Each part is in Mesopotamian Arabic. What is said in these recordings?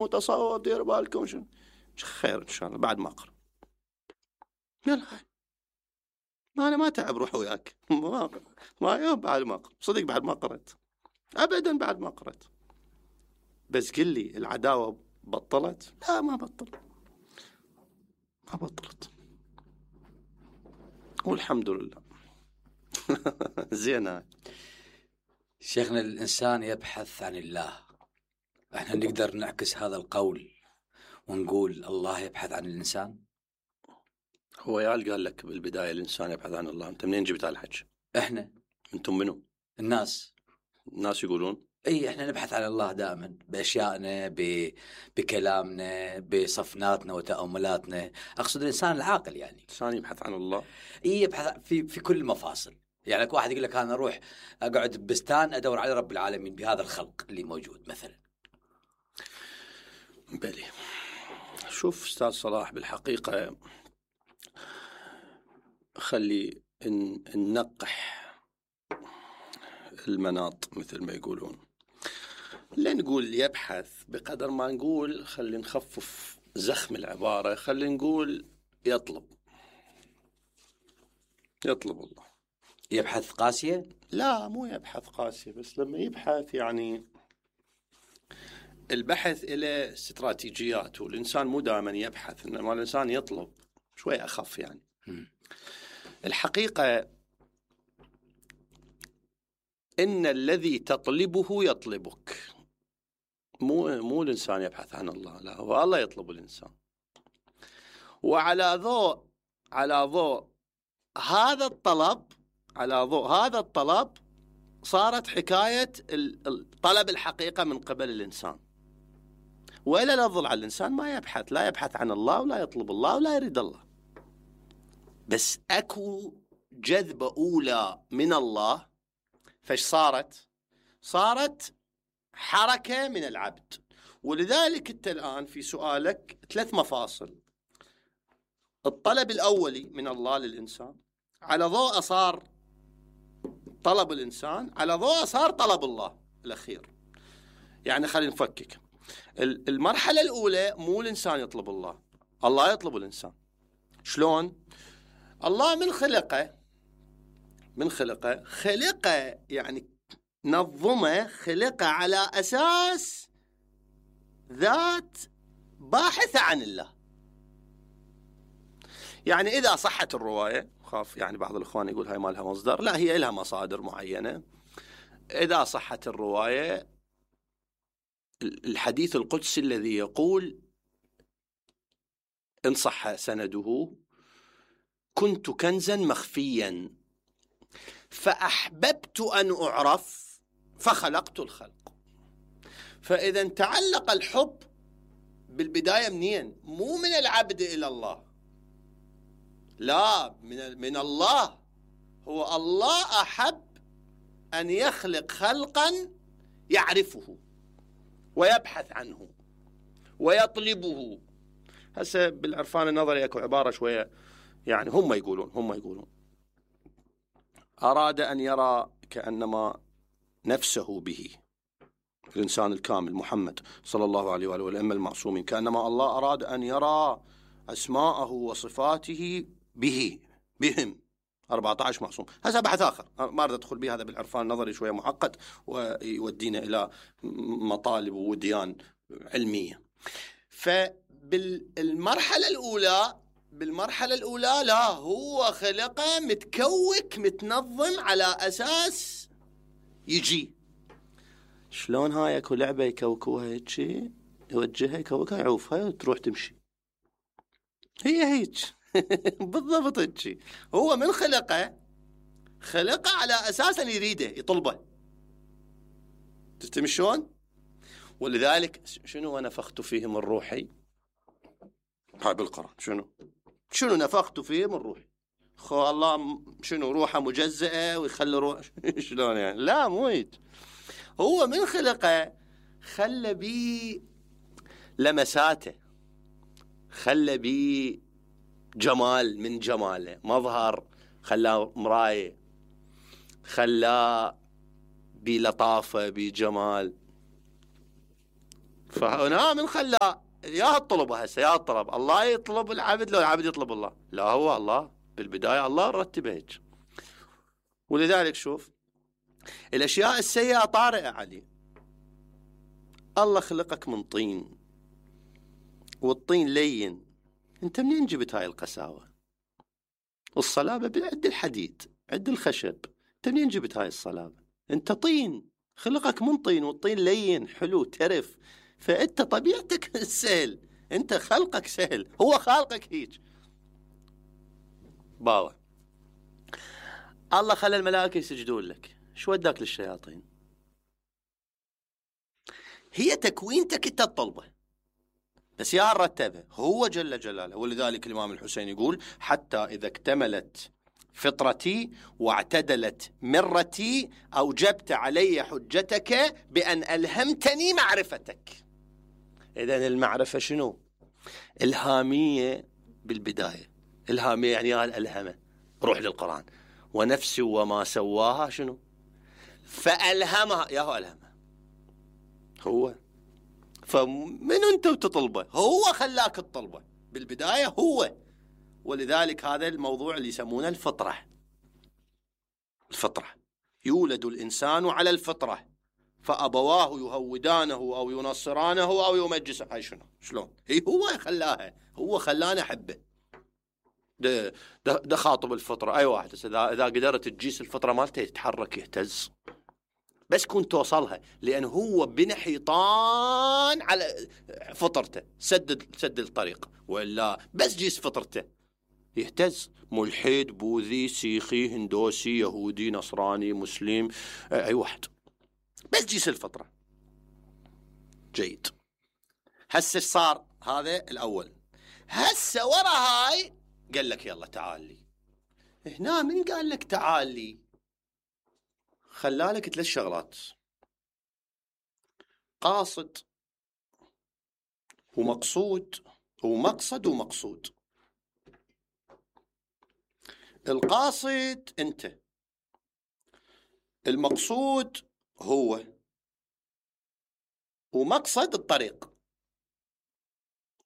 متصوب دير بالكم شنو خير ان شاء الله بعد ما اقرا. يلا انا ما تعب روح وياك ما يوم بعد ما اقرا صدق بعد ما قرأت ابدا بعد ما قرأت. بس قل لي العداوة بطلت؟ لا ما بطلت والحمد لله. زين شيخنا الإنسان يبحث عن الله، احنا نقدر نعكس هذا القول ونقول الله يبحث عن الإنسان؟ هو يال قال لك بالبداية الإنسان يبحث عن الله، أنت منين جبت هالحكي؟ احنا. أنتم منو؟ الناس يقولون اي احنا نبحث عن الله دائما باشيائنا بكلامنا بصفناتنا وتأملاتنا. اقصد الانسان العاقل يعني الانسان يبحث عن الله، اي يبحث في كل المفاصل. يعني لك واحد يقول لك انا اروح اقعد ببستان ادور على رب العالمين بهذا الخلق اللي موجود مثلا. بلي شوف استاذ صلاح، بالحقيقة خلي ننقح المناط مثل ما يقولون. لا نقول يبحث بقدر ما نقول خلي نخفف زخم العبارة، خلي نقول يطلب الله. يبحث قاسية؟ لا مو يبحث قاسية، بس لما يبحث يعني البحث إلى استراتيجيات، والإنسان مو دائما يبحث، إنما الإنسان يطلب شوي أخف يعني. الحقيقة إن الذي تطلبه يطلبك، مو الإنسان يبحث عن الله، لا هو الله يطلب الإنسان. وعلى ضوء هذا الطلب صارت حكاية طلب الحقيقة من قبل الإنسان. وإلا لا ظل على الإنسان ما يبحث، لا يبحث عن الله ولا يطلب الله ولا يريد الله. بس أكو جذبة أولى من الله، فاش صارت حركة من العبد. ولذلك أنت الآن في سؤالك 3 مفاصل: الطلب الأولي من الله للإنسان، على ضوء صار طلب الإنسان، على ضوء صار طلب الله الأخير. يعني خلينا نفكك. المرحلة الأولى مو الإنسان يطلب الله، الله يطلب الإنسان. شلون؟ الله من خلقه يعني نظمه، خلقه على أساس ذات باحثة عن الله. يعني إذا صحت الرواية، خاف يعني بعض الإخوان يقول هاي ما لها مصدر، لا هي لها مصادر معينة. إذا صحت الرواية، الحديث القدسي الذي يقول إن صح سنده: كنت كنزا مخفيا فأحببت أن أعرف فخلقت الخلق. فإذا تعلق الحب بالبداية منين؟ مو من العبد إلى الله، لا من الله. هو الله أحب أن يخلق خلقا يعرفه ويبحث عنه ويطلبه. هسه بالعرفان النظري اكو عبارة شوية يعني هم يقولون أراد أن يرى كأنما نفسه به، الإنسان الكامل محمد صلى الله عليه وآله والأئمة المعصومين، كأنما الله أراد أن يرى أسماءه وصفاته بهم 14 معصوم. هذا بحث آخر ما أريد أدخل به، هذا بالعرفان النظري شوية معقد ويودينا إلى مطالب وديان علمية. فبالمرحلة الأولى لا، هو خلقه متكوك متنظم على أساس يجي. شلون هاي اكو لعبة يكوكوها هيك، يوجهها يكوكها يعوفها وتروح تمشي، هي هيك بالضبط هيك. هو من خلقه على أساس أن يريده يطلبه. تستمع شلون؟ ولذلك شنو ونفخت فيه من روحي، هاي بالقرآن شنو نفخت فيه من روحي. خو الله شنو روحه مجزئة ويخلي روح شلون يعني؟ لا مو هيك. هو من خلقه خلى بي لمساته، خلى بي جمال من جماله، مظهر خلاه مراية، خلاه بلطافة بجمال. فهنا من خلاه يا الطلب هسه يا الطلب، الله يطلب العبد لو العبد يطلب الله؟ لا، هو الله بالبداية الله رتبه هيك. ولذلك شوف الأشياء السيئة طارئة علي. الله خلقك من طين، والطين لين، انت منين جبت هاي القساوة؟ والصلابة عند الحديد عند الخشب، انت منين جبت هاي الصلابة؟ انت طين، خلقك من طين، والطين لين حلو ترف، فانت طبيعتك السهل، انت خلقك سهل، هو خالقك هيك. باوة الله خلى الملائكة يسجدون لك، شو وداك للشياطين؟ هي تكوينتك انت تطلبه، بس يا رتبه هو جل جلاله. ولذلك الإمام الحسين يقول: حتى إذا اكتملت فطرتي واعتدلت مرتي أوجبت علي حجتك بأن ألهمتني معرفتك. إذن المعرفة شنو؟ إلهامية بالبداية. إلهامية يعني الألهمة، روح للقرآن: ونفس وما سواها شنو؟ فألهمها. يا هو ألهمها هو، فمن أنت وتطلبه؟ هو خلاك تطلبه بالبداية هو. ولذلك هذا الموضوع اللي يسمونه الفطرة. الفطرة، يولد الإنسان على الفطرة فأبواه يهودانه أو ينصرانه أو يمجسه. هاي شنو؟ شلون؟ هي هو خلاها، هو خلانا أحبه. ده خاطب الفطرة. أي واحد إذا قدرت تجيس الفطرة مالته يتحرك يهتز، بس كنت توصلها، لأن هو بنى حيطان على فطرته، سد الطريق، ولا بس جيس فطرته يهتز. ملحد، بوذي، سيخي، هندوسي، يهودي، نصراني، مسلم، أي واحد، بس جيس الفطرة. جيد. هسه صار هذا الأول. هسه ورا هاي قال لك يلا تعال لي. هنا من قال لك تعال لي؟ خلالك 3 شغلات: قاصد ومقصود ومقصد ومقصود. القاصد انت، المقصود هو، ومقصد الطريق.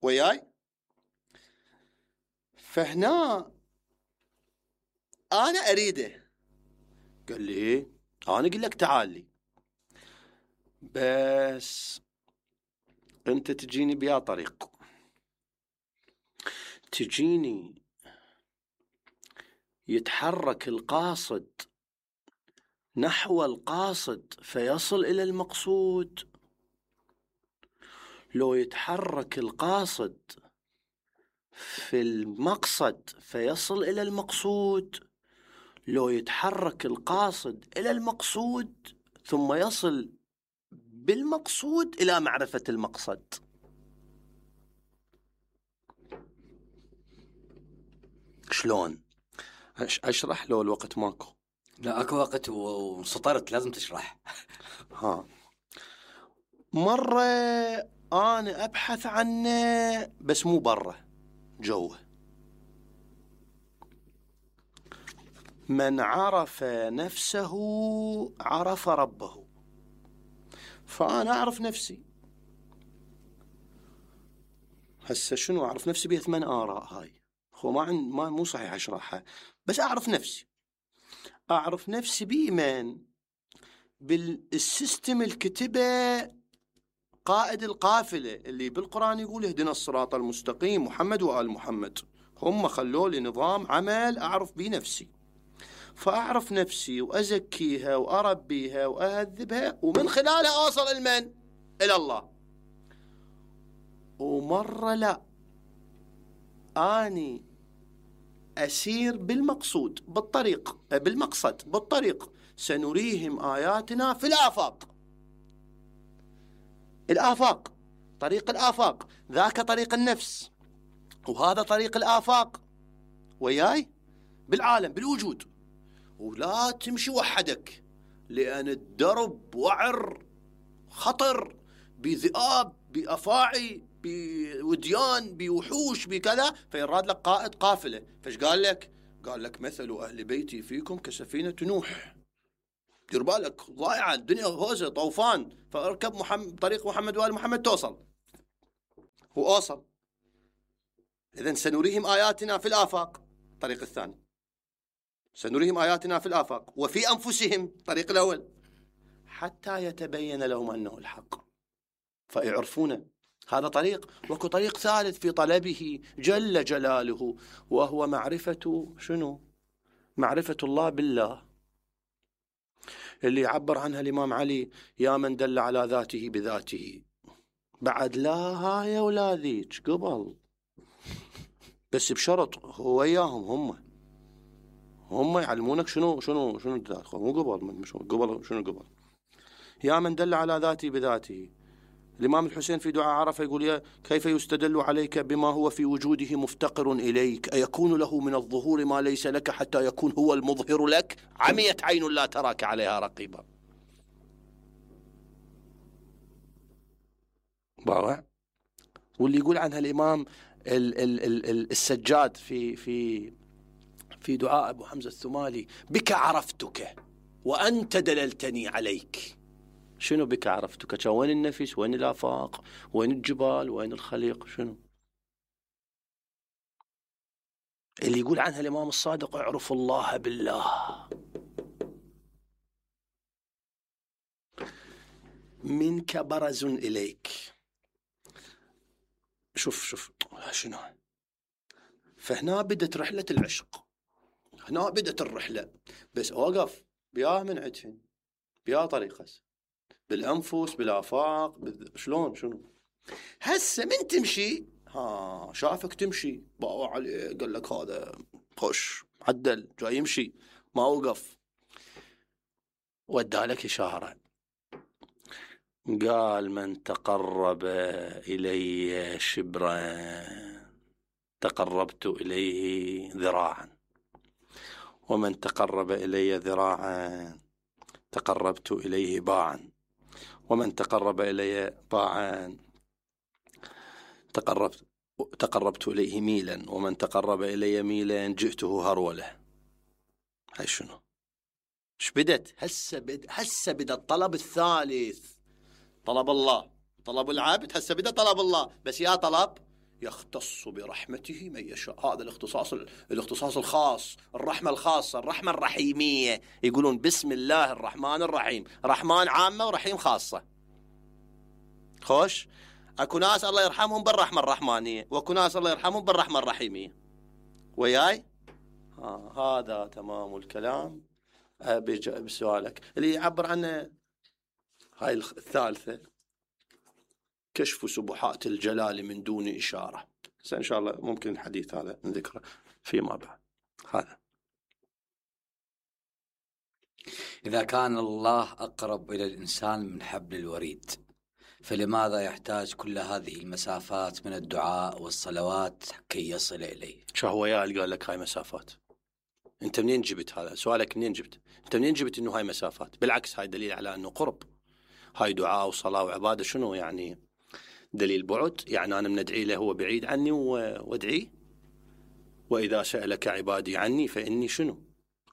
وياي؟ فهنا انا اريده. قال لي ايه؟ انا اقول لك تعال لي، بس انت تجيني بيا طريق، تجيني يتحرك القاصد نحو القاصد فيصل إلى المقصود، لو يتحرك القاصد في المقصد فيصل إلى المقصود، لو يتحرك القاصد إلى المقصود ثم يصل بالمقصود إلى معرفة المقصد. شلون؟ أشرح لو الوقت ماكو؟ لا اكو وقت وسطرت لازم تشرح. ها، مرة أنا أبحث عنه بس مو برا، جوه. من عرف نفسه عرف ربه. فأنا أعرف نفسي. هسه شنو أعرف نفسي؟ بيه 8 آراء. هاي هو ما مو صحيح أشرحها، بس أعرف نفسي. أعرف نفسي بإيمان بالسيستم الكتبة قائد القافلة اللي بالقرآن يقول: اهدنا الصراط المستقيم، محمد وآل محمد. هم خلوا لي نظام عمل أعرف بيه نفسي. فأعرف نفسي وأزكيها وأربيها وأهذبها، ومن خلالها أوصل المن؟ إلى الله. ومرة لا، أني أسير بالمقصود بالطريق، بالمقصد بالطريق. سنريهم آياتنا في الآفاق. الآفاق، طريق الآفاق، ذاك طريق النفس، وهذا طريق الآفاق. وياي؟ بالعالم، بالوجود. ولا تمشي وحدك، لأن الدرب وعر خطر، بذئاب، بأفاعي، بوديان، بوحوش، بكذا. فيراد لك قائد قافلة. فايش قال لك؟ قال لك: مثل أهل بيتي فيكم كسفينة نوح دير بالك ضايعة الدنيا، هوزة طوفان، فاركب طريق محمد وآل محمد توصل. وأوصل. إذن سنريهم آياتنا في الآفاق، الطريق الثاني، سنريهم آياتنا في الآفاق وفي أنفسهم، الطريق الأول، حتى يتبين لهم أنه الحق فيعرفونه. هذا طريق. وكو طريق ثالث في طلبه جل جلاله، وهو معرفة شنو؟ معرفة الله بالله، اللي يعبر عنها الإمام علي: يا من دل على ذاته بذاته. بعد لا هاي ولا ذيك قبل، بس بشرط هو وياهم، هم يعلمونك شنو ذات، مو قبل، قبل شنو قبل. يا من دل على ذاته بذاته. الإمام الحسين في دعاء عرفة يقول: كيف يستدل عليك بما هو في وجوده مفتقر إليك، أيكون له من الظهور ما ليس لك حتى يكون هو المظهر لك، عميت عين لا تراك عليها رقيبا. باوع. واللي يقول عنها الإمام السجاد في دعاء أبو حمزة الثمالي: بك عرفتك وأنت دللتني عليك. شنو بك عرفتك؟ وين النفس؟ وين الآفاق؟ وين الجبال؟ وين الخليق؟ شنو اللي يقول عنها الإمام الصادق: اعرف الله بالله. منك برز إليك. شوف شنو. فهنا بدت رحلة العشق، هنا بدت الرحلة. بس أوقف بيا من عدفن، بيا طريقة، بالأنفس، بالآفاق، شلون شنو. هسه من تمشي، شافك تمشي، باو عليه، قال لك هذا خش عدل جاي يمشي، ما وقف، ودالك إشارة، قال: من تقرب إلي شبرا تقربت إليه ذراعا، ومن تقرب إلي ذراعا تقربت إليه باعا، ومن تقرب إلي باعا تقربت إليه ميلا، ومن تقرب إلي ميلا جئته هرولة. هاي شنو؟ ايش بدت؟ هسه بدت الطلب الثالث، طلب الله، طلب العبد. هسه بدأ طلب الله، بس يا طلب يختص برحمته من يشاء. هذا الاختصاص الخاص، الرحمة الخاصة، الرحمة الرحيمية. يقولون بسم الله الرحمن الرحيم، رحمن عامة ورحيم خاصة. خوش. اكو ناس الله يرحمهم بالرحمة الرحمانية، واكو ناس الله يرحمهم بالرحمة الرحيمية. وياي؟ هذا تمام الكلام. بسؤالك اللي يعبر عنه هاي الثالثة: كشف سبحات الجلال من دون إشارة. إن شاء الله ممكن الحديث هذا نذكره فيما بعد. هذا إذا كان الله أقرب إلى الإنسان من حبل الوريد، فلماذا يحتاج كل هذه المسافات من الدعاء والصلوات كي يصل إليه؟ شو هو اللي قال لك هاي مسافات؟ أنت منين جبت هذا سؤالك؟ منين جبت؟ أنت منين جبت إنه هاي مسافات؟ بالعكس، هاي دليل على إنه قرب. هاي دعاء وصلاة وعبادة. شنو يعني دليل بعد؟ يعني أنا من أدعي له هو بعيد عني وادعيه. وإذا سألك عبادي عني فإني شنو؟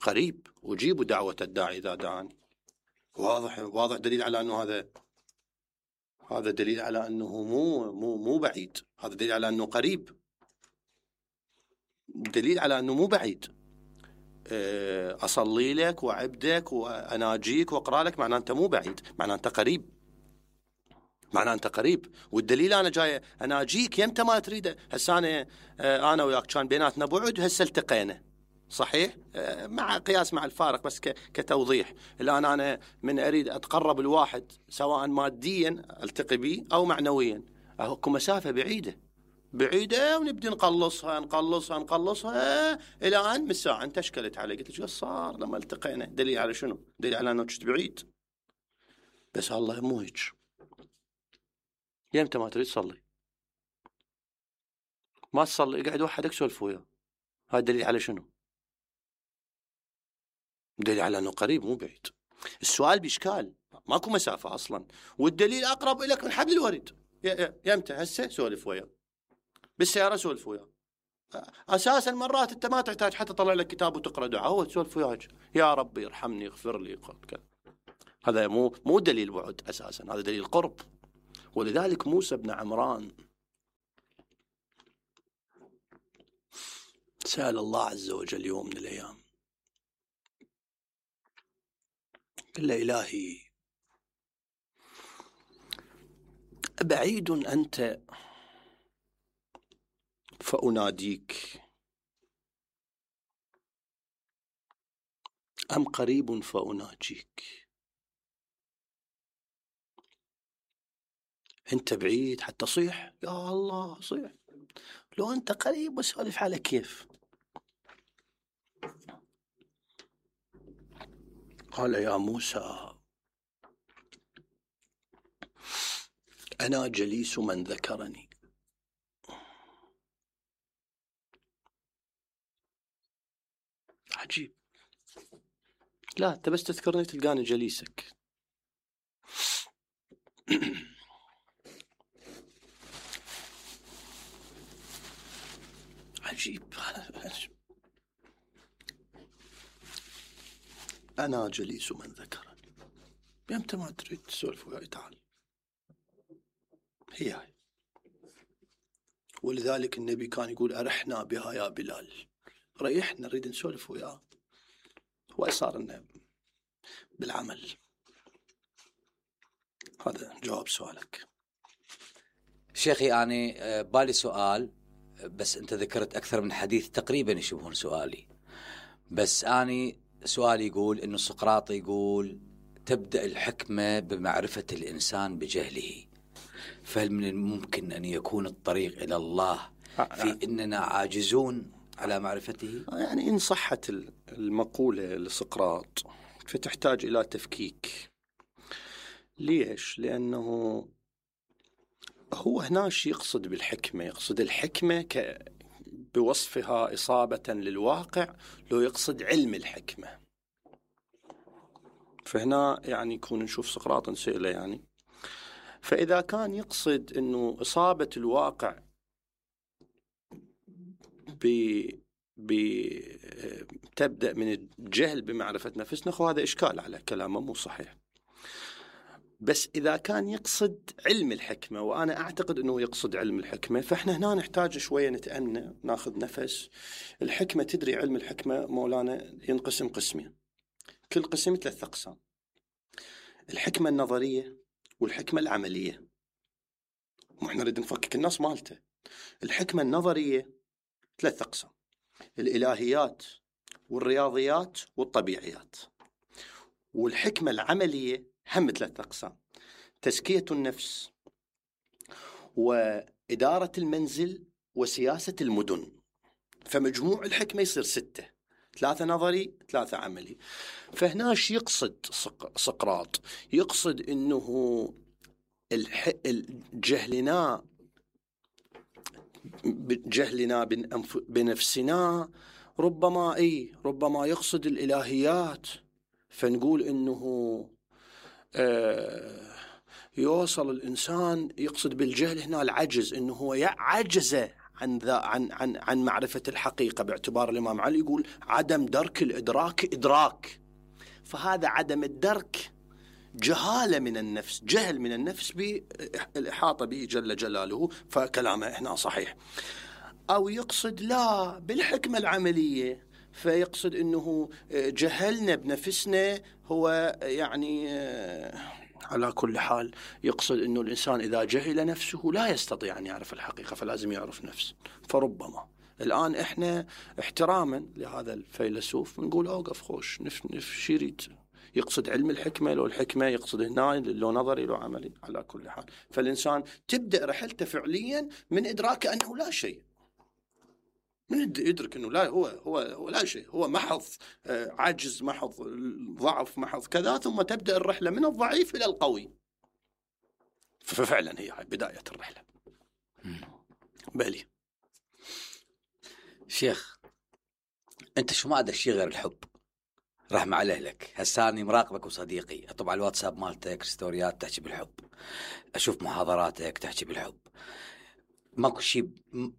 قريب أجيب دعوة الداعي إذا دعاني. واضح دليل على أنه هذا دليل على أنه مو بعيد. هذا دليل على أنه قريب، دليل على أنه مو بعيد. أصلي لك وعبدك وأناجيك وأقرأ لك، معناه أنت مو بعيد، معناه أنت قريب، معناه أنت قريب. والدليل أنا جاي أناجيك يمتى ما تريده. هسه أنا وياك كان بيناتنا بعد، هسه التقينا، صحيح، مع قياس مع الفارق، بس كتوضيح. الآن أنا من أريد أتقرب الواحد سواء ماديا التقي به أو معنويا، أكو مسافة بعيدة ونبدي نقلصها إلى أن من ساعة أنت اشكلت علي. قلت شو صار لما التقينا؟ دليل على شنو؟ دليل على أنه كنت بعيد. بس الله مو هيك. يمتى ما تريد صلي، ما تصلي، اقعد وحدك سولف وياه. هذا دليل على شنو؟ دليل على أنه قريب مو بعيد. السؤال بإشكال، ماكو مسافة أصلا، والدليل أقرب إليك من حبل الوريد. يمتى؟ هسه سولف وياه، بالسيارة سولف وياه. أساسا مرات أنت ما تحتاج حتى تطلع لك كتاب وتقرأ دعاء، هو تسولف وياه: يا ربي ارحمني اغفر لي كذا. هذا مو دليل بعد أساسا، هذا دليل قرب. ولذلك موسى بن عمران سأل الله عز وجل يوم من الأيام، قال له: إلهي أبعيد أنت فأناديك أم قريب فأناجيك؟ أنت بعيد حتى صيح، يا الله صيح، لو أنت قريب وسولف على كيف. قال: يا موسى أنا جليس من ذكرني. عجيب، لا أنت بس تذكرني تلقاني جليسك. عجيب. أنا جليس من ذكرني، يمتى ما تريد تسولف وياي تعال، هي هاي. ولذلك النبي كان يقول: أرحنا بها يا بلال، ريحنا نريد نسولف وياه. وصار لنا بالعمل. هذا جواب سؤالك. شيخي أنا بالي سؤال، بس أنت ذكرت أكثر من حديث تقريبا يشبهون سؤالي. بس أنا سؤالي يقول إنه سقراط يقول تبدأ الحكمة بمعرفة الإنسان بجهله، فهل من الممكن أن يكون الطريق إلى الله في إننا عاجزون على معرفته؟ يعني إن صحت المقولة لسقراط فتحتاج إلى تفكيك. ليش؟ لأنه هو هنا شيء يقصد بالحكمة، يقصد الحكمة بوصفها إصابة للواقع، لو يقصد علم الحكمة. فهنا يعني يكون نشوف سقراط نسأله يعني، فإذا كان يقصد أنه إصابة الواقع تبدأ من الجهل بمعرفة نفسنا، هذا إشكال على كلامه مو صحيح. بس إذا كان يقصد علم الحكمة، وأنا أعتقد أنه يقصد علم الحكمة، فإحنا هنا نحتاج شوية نتأنى، ناخذ نفس. الحكمة تدري علم الحكمة مولانا ينقسم قسمين، كل قسم 3 أقسام: الحكمة النظرية والحكمة العملية. وإحنا نريد نفكك الناس مالته. الحكمة النظرية 3 أقسام: الإلهيات والرياضيات والطبيعيات. والحكمة العملية هم 3 أقسام: تزكية النفس وإدارة المنزل وسياسة المدن. فمجموع الحكمة يصير 6، 3 نظري 3 عملي. فهنا شو يقصد سقراط؟ يقصد إنه جهلنا بنفسنا ربما يقصد الإلهيات، فنقول إنه يوصل الإنسان، يقصد بالجهل هنا العجز، إنه هو عجز عن معرفة الحقيقة، باعتبار الإمام علي يقول عدم درك الإدراك إدراك. فهذا عدم الدرك جهالة من النفس، جهل من النفس بالإحاطة به جل جلاله، فكلامه إحنا صحيح. أو يقصد لا بالحكمة العملية، فيقصد أنه جهلنا بنفسنا، هو يعني على كل حال يقصد أنه الإنسان إذا جهل نفسه لا يستطيع أن يعرف الحقيقة، فلازم يعرف نفسه. فربما الآن إحنا احتراما لهذا الفيلسوف نقول أوقف خوش شي يريد، يقصد علم الحكمة لو الحكمة، يقصد هنا لو نظري لو عملي. على كل حال فالإنسان تبدأ رحلته فعليا من إدراك أنه لا شيء، من يدرك أنه لا هو لا شيء، هو محض عجز، محض ضعف، محض كذا، ثم تبدأ الرحلة من الضعيف إلى القوي. ففعلا هي بداية الرحلة. بالي شيخ أنت شو ما أدري شيء غير الحب، رحمة على أهلك. هساني مراقبك وصديقي، طبعا الواتساب مالتك ستوريات تحكي بالحب، أشوف محاضراتك تحكي بالحب، ماكو شيء،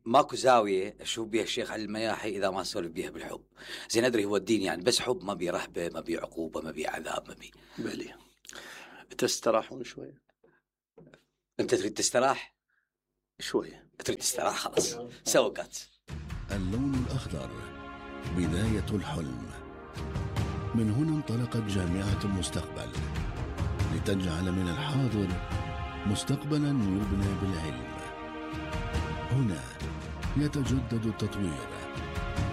ماكو زاوية أشوف بيها الشيخ علي المياحي إذا ما سولف بيها بالحب. زين أدري هو الدين يعني بس حب، ما بي رهبة، ما بي عقوبة، ما بي عذاب، ما بي. بالي تستراحون شوية؟ انت تريد تستراح شوية؟ تريد تستراح خلاص سوى كات. اللون الأخضر بداية الحلم. من هنا انطلقت جامعة المستقبل لتجعل من الحاضر مستقبلا يبنى بالعلم. هنا يتجدد التطوير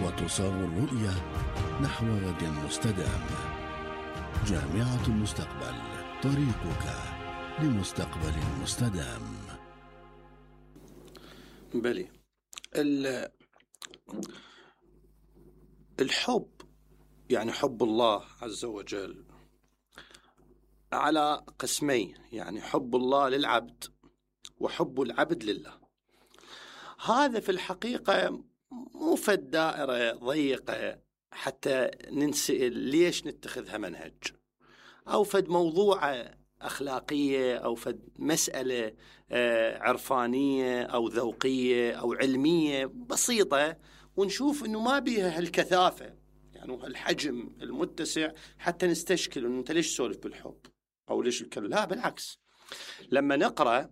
وتصاغ الرؤية نحو غد مستدام. جامعة المستقبل، طريقك لمستقبل مستدام. بلي. الحب يعني حب الله عز وجل على قسمين، يعني حب الله للعبد وحب العبد لله. هذا في الحقيقة مو في الدائرة ضيقة حتى ننسأل ليش نتخذها منهج، أو فد موضوع أخلاقية، أو فد مسألة عرفانية أو ذوقية أو علمية بسيطة، ونشوف أنه ما بيها هالكثافة يعني الحجم المتسع حتى نستشكل أنه أنت ليش تسولف بالحب أو ليش الكلام. لا بالعكس، لما نقرأ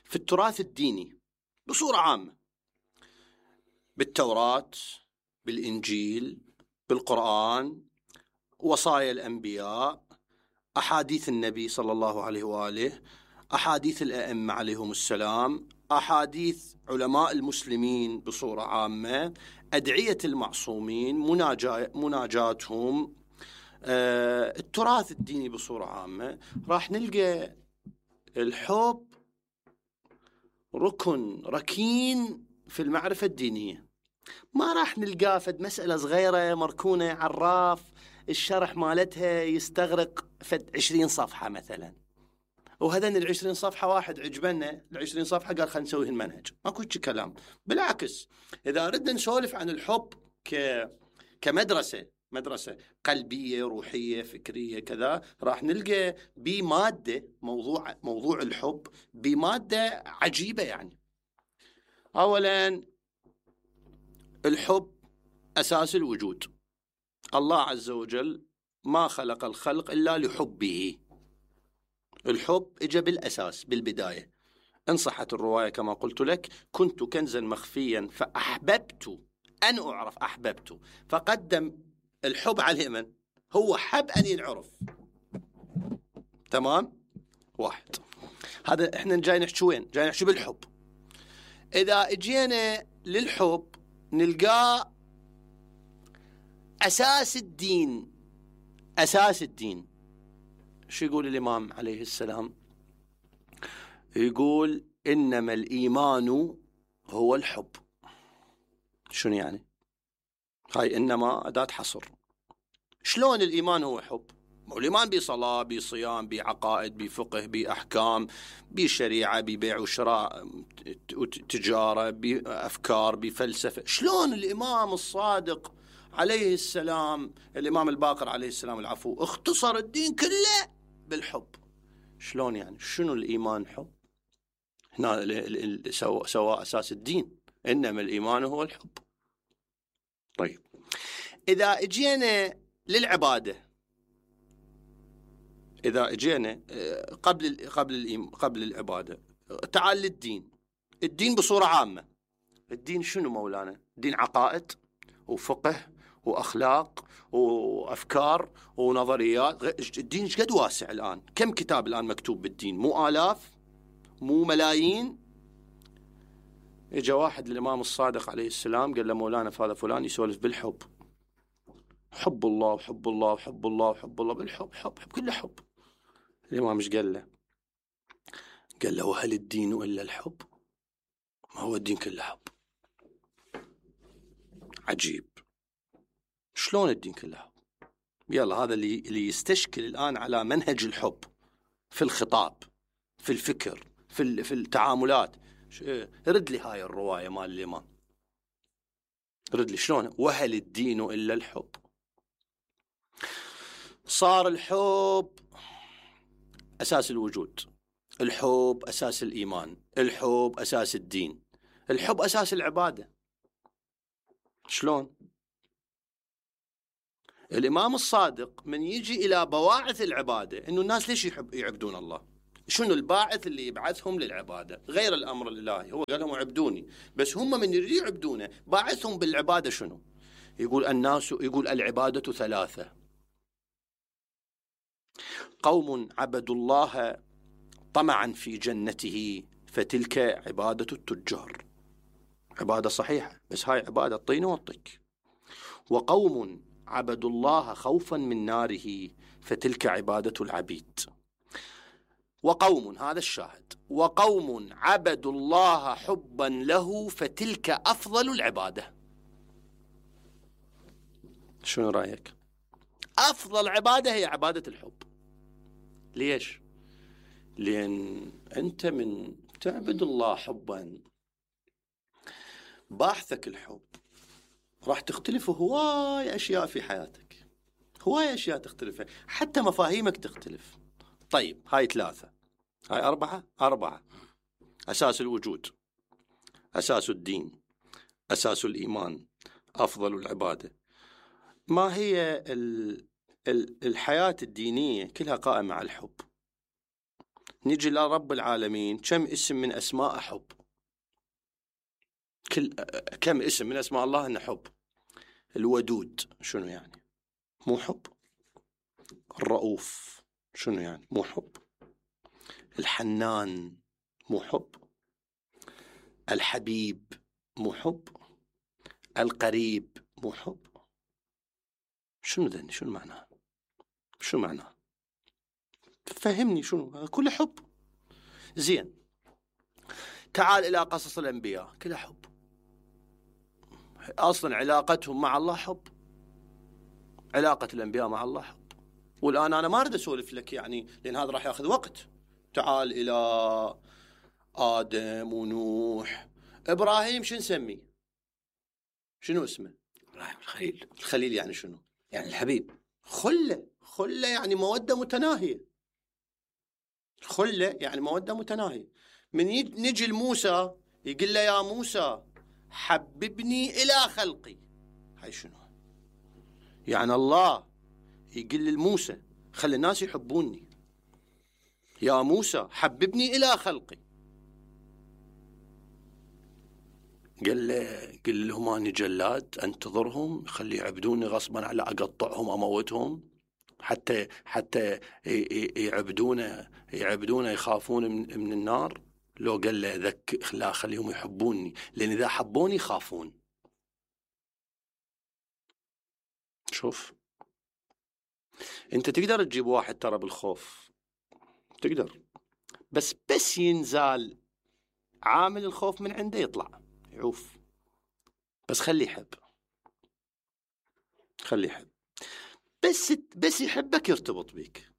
في التراث الديني بصورة عامة، بالتوراة، بالإنجيل، بالقرآن، وصايا الأنبياء، أحاديث النبي صلى الله عليه وآله، أحاديث الأئمة عليهم السلام، أحاديث علماء المسلمين بصورة عامة، أدعية المعصومين، مناجاتهم، التراث الديني بصورة عامة، راح نلقى الحب ركن ركين في المعرفة الدينية. ما راح نلقاه فد مسألة صغيرة مركونة عراف الشرح مالتها يستغرق فد 20 صفحة مثلا، وهذين 20 صفحة واحد عجبنا 20 صفحة قال خلينا نسوي المنهج. ماكو شي كلام. بالعكس، إذا أردنا نسولف عن الحب كمدرسة قلبية روحية فكرية كذا، راح نلقى بمادة موضوع الحب بمادة عجيبة. يعني أولا الحب أساس الوجود. الله عز وجل ما خلق الخلق إلا لحبه. الحب إجا بالأساس بالبداية. إن صحت الرواية كما قلت لك: كنت كنزا مخفيا فأحببت أن أعرف. أحببت، فقدم الحب على من هو حب أن ينعرف. تمام؟ واحد. هذا إحنا جاي نحكي وين؟ جاي نحكي بالحب. إذا اجينا للحب نلقاه أساس الدين. أساس الدين شو يقول الإمام عليه السلام؟ يقول: إنما الإيمان هو الحب. شنو يعني؟ هاي إنما أداة حصر. شلون الإيمان هو حب؟ الإيمان بصلاة، بصيام، بعقائد، بفقه، بأحكام، بشريعة، ببيع وشراء، تجارة، بأفكار، بفلسفة. شلون الإمام الصادق عليه السلام، الإمام الباقر عليه السلام العفو، اختصر الدين كله بالحب؟ شلون يعني؟ شنو الإيمان حب؟ هنا سواء أساس الدين. إنما الإيمان هو الحب. طيب، إذا اجينا للعبادة، إذا اجينا قبل العبادة، تعال للدين. الدين بصورة عامة، الدين شنو مولانا؟ الدين عقائد وفقه وأخلاق وأفكار ونظريات. الدين قد واسع الآن. كم كتاب الآن مكتوب بالدين؟ مو آلاف، مو ملايين. إجا واحد للإمام الصادق عليه السلام قال له: مولانا فهذا فلان يسولف بالحب، حب الله وحب الله وحب الله وحب الله، بالحب حب كله حب. الإمام مش قال له؟ قال له: وهل الدين إلا الحب؟ ما هو الدين كله حب. عجيب، شلون الدين كله حب؟ يلا، هذا اللي يستشكل الآن على منهج الحب في الخطاب، في الفكر، في التعاملات. رد لي هاي الرواية مال الإمام، رد لي شلون وهل الدين إلا الحب. صار الحب أساس الوجود، الحب أساس الإيمان، الحب أساس الدين، الحب أساس العبادة. شلون؟ الإمام الصادق من يجي إلى بواعث العبادة، إنه الناس ليش يعبدون الله؟ شنو الباعث اللي يبعثهم للعبادة غير الأمر الإلهي؟ هو قال لهم اعبدوني، بس هم من يريد يعبدونه باعثهم بالعبادة شنو؟ يقول العبادة ثلاثة: قوم عبدوا الله طمعا في جنته فتلك عبادة التجار، عبادة صحيحة بس هاي عبادة طين وطك. وقوم عبدوا الله خوفا من ناره فتلك عبادة العبيد. وقوم، هذا الشاهد، وقوم عبدوا الله حبا له فتلك أفضل العبادة. شنو رأيك؟ أفضل عبادة هي عبادة الحب. ليش؟ لأن أنت من تعبد الله حبا، باحثك الحب، راح تختلف هواي أشياء في حياتك، هواي أشياء تختلف، حتى مفاهيمك تختلف. طيب هاي ثلاثة، هاي أربعة: أساس الوجود، أساس الدين، أساس الإيمان، أفضل العبادة. ما هي الحياة الدينية كلها قائمة على الحب. نجي لرب العالمين، كم اسم من أسماء حب؟ كم اسم من أسماء الله إنه حب؟ الودود شنو يعني؟ مو حب. الرؤوف شنو يعني؟ مو حب. الحنان مو حب. الحبيب مو حب. القريب مو حب. شنو ذني؟ شنو معناه؟ شو معناه؟ فهمني شنو؟ كل حب. زين، تعال إلى قصص الأنبياء، كلها حب. أصلا علاقتهم مع الله حب، علاقة الأنبياء مع الله حب. والآن أنا ما أريد أسولف لك يعني، لأن هذا راح يأخذ وقت. تعال إلى آدم ونوح. إبراهيم شو نسميه؟ شنو اسمه؟ إبراهيم الخليل. الخليل يعني شنو؟ يعني الحبيب. خلة يعني مودة متناهية. خلة يعني مودة متناهية. من نجي لموسى يقول له يا موسى حببني إلى خلقي. هاي شنو؟ يعني الله يقول لموسى خلي الناس يحبوني، يا موسى حببني إلى خلقي. قال لهم أنا جلاد أنتظرهم خلي يعبدوني غصبا على أقطعهم أموتهم حتى يعبدونه يخافون من النار. لو قال له لا خليهم يحبوني، لأن إذا حبوني يخافون. شوف، أنت تقدر تجيب واحد ترى بالخوف، تقدر، بس ينزال عامل الخوف من عنده يطلع يعوف. بس خليه يحب، خليه يحب، بس يحبك يرتبط بيك.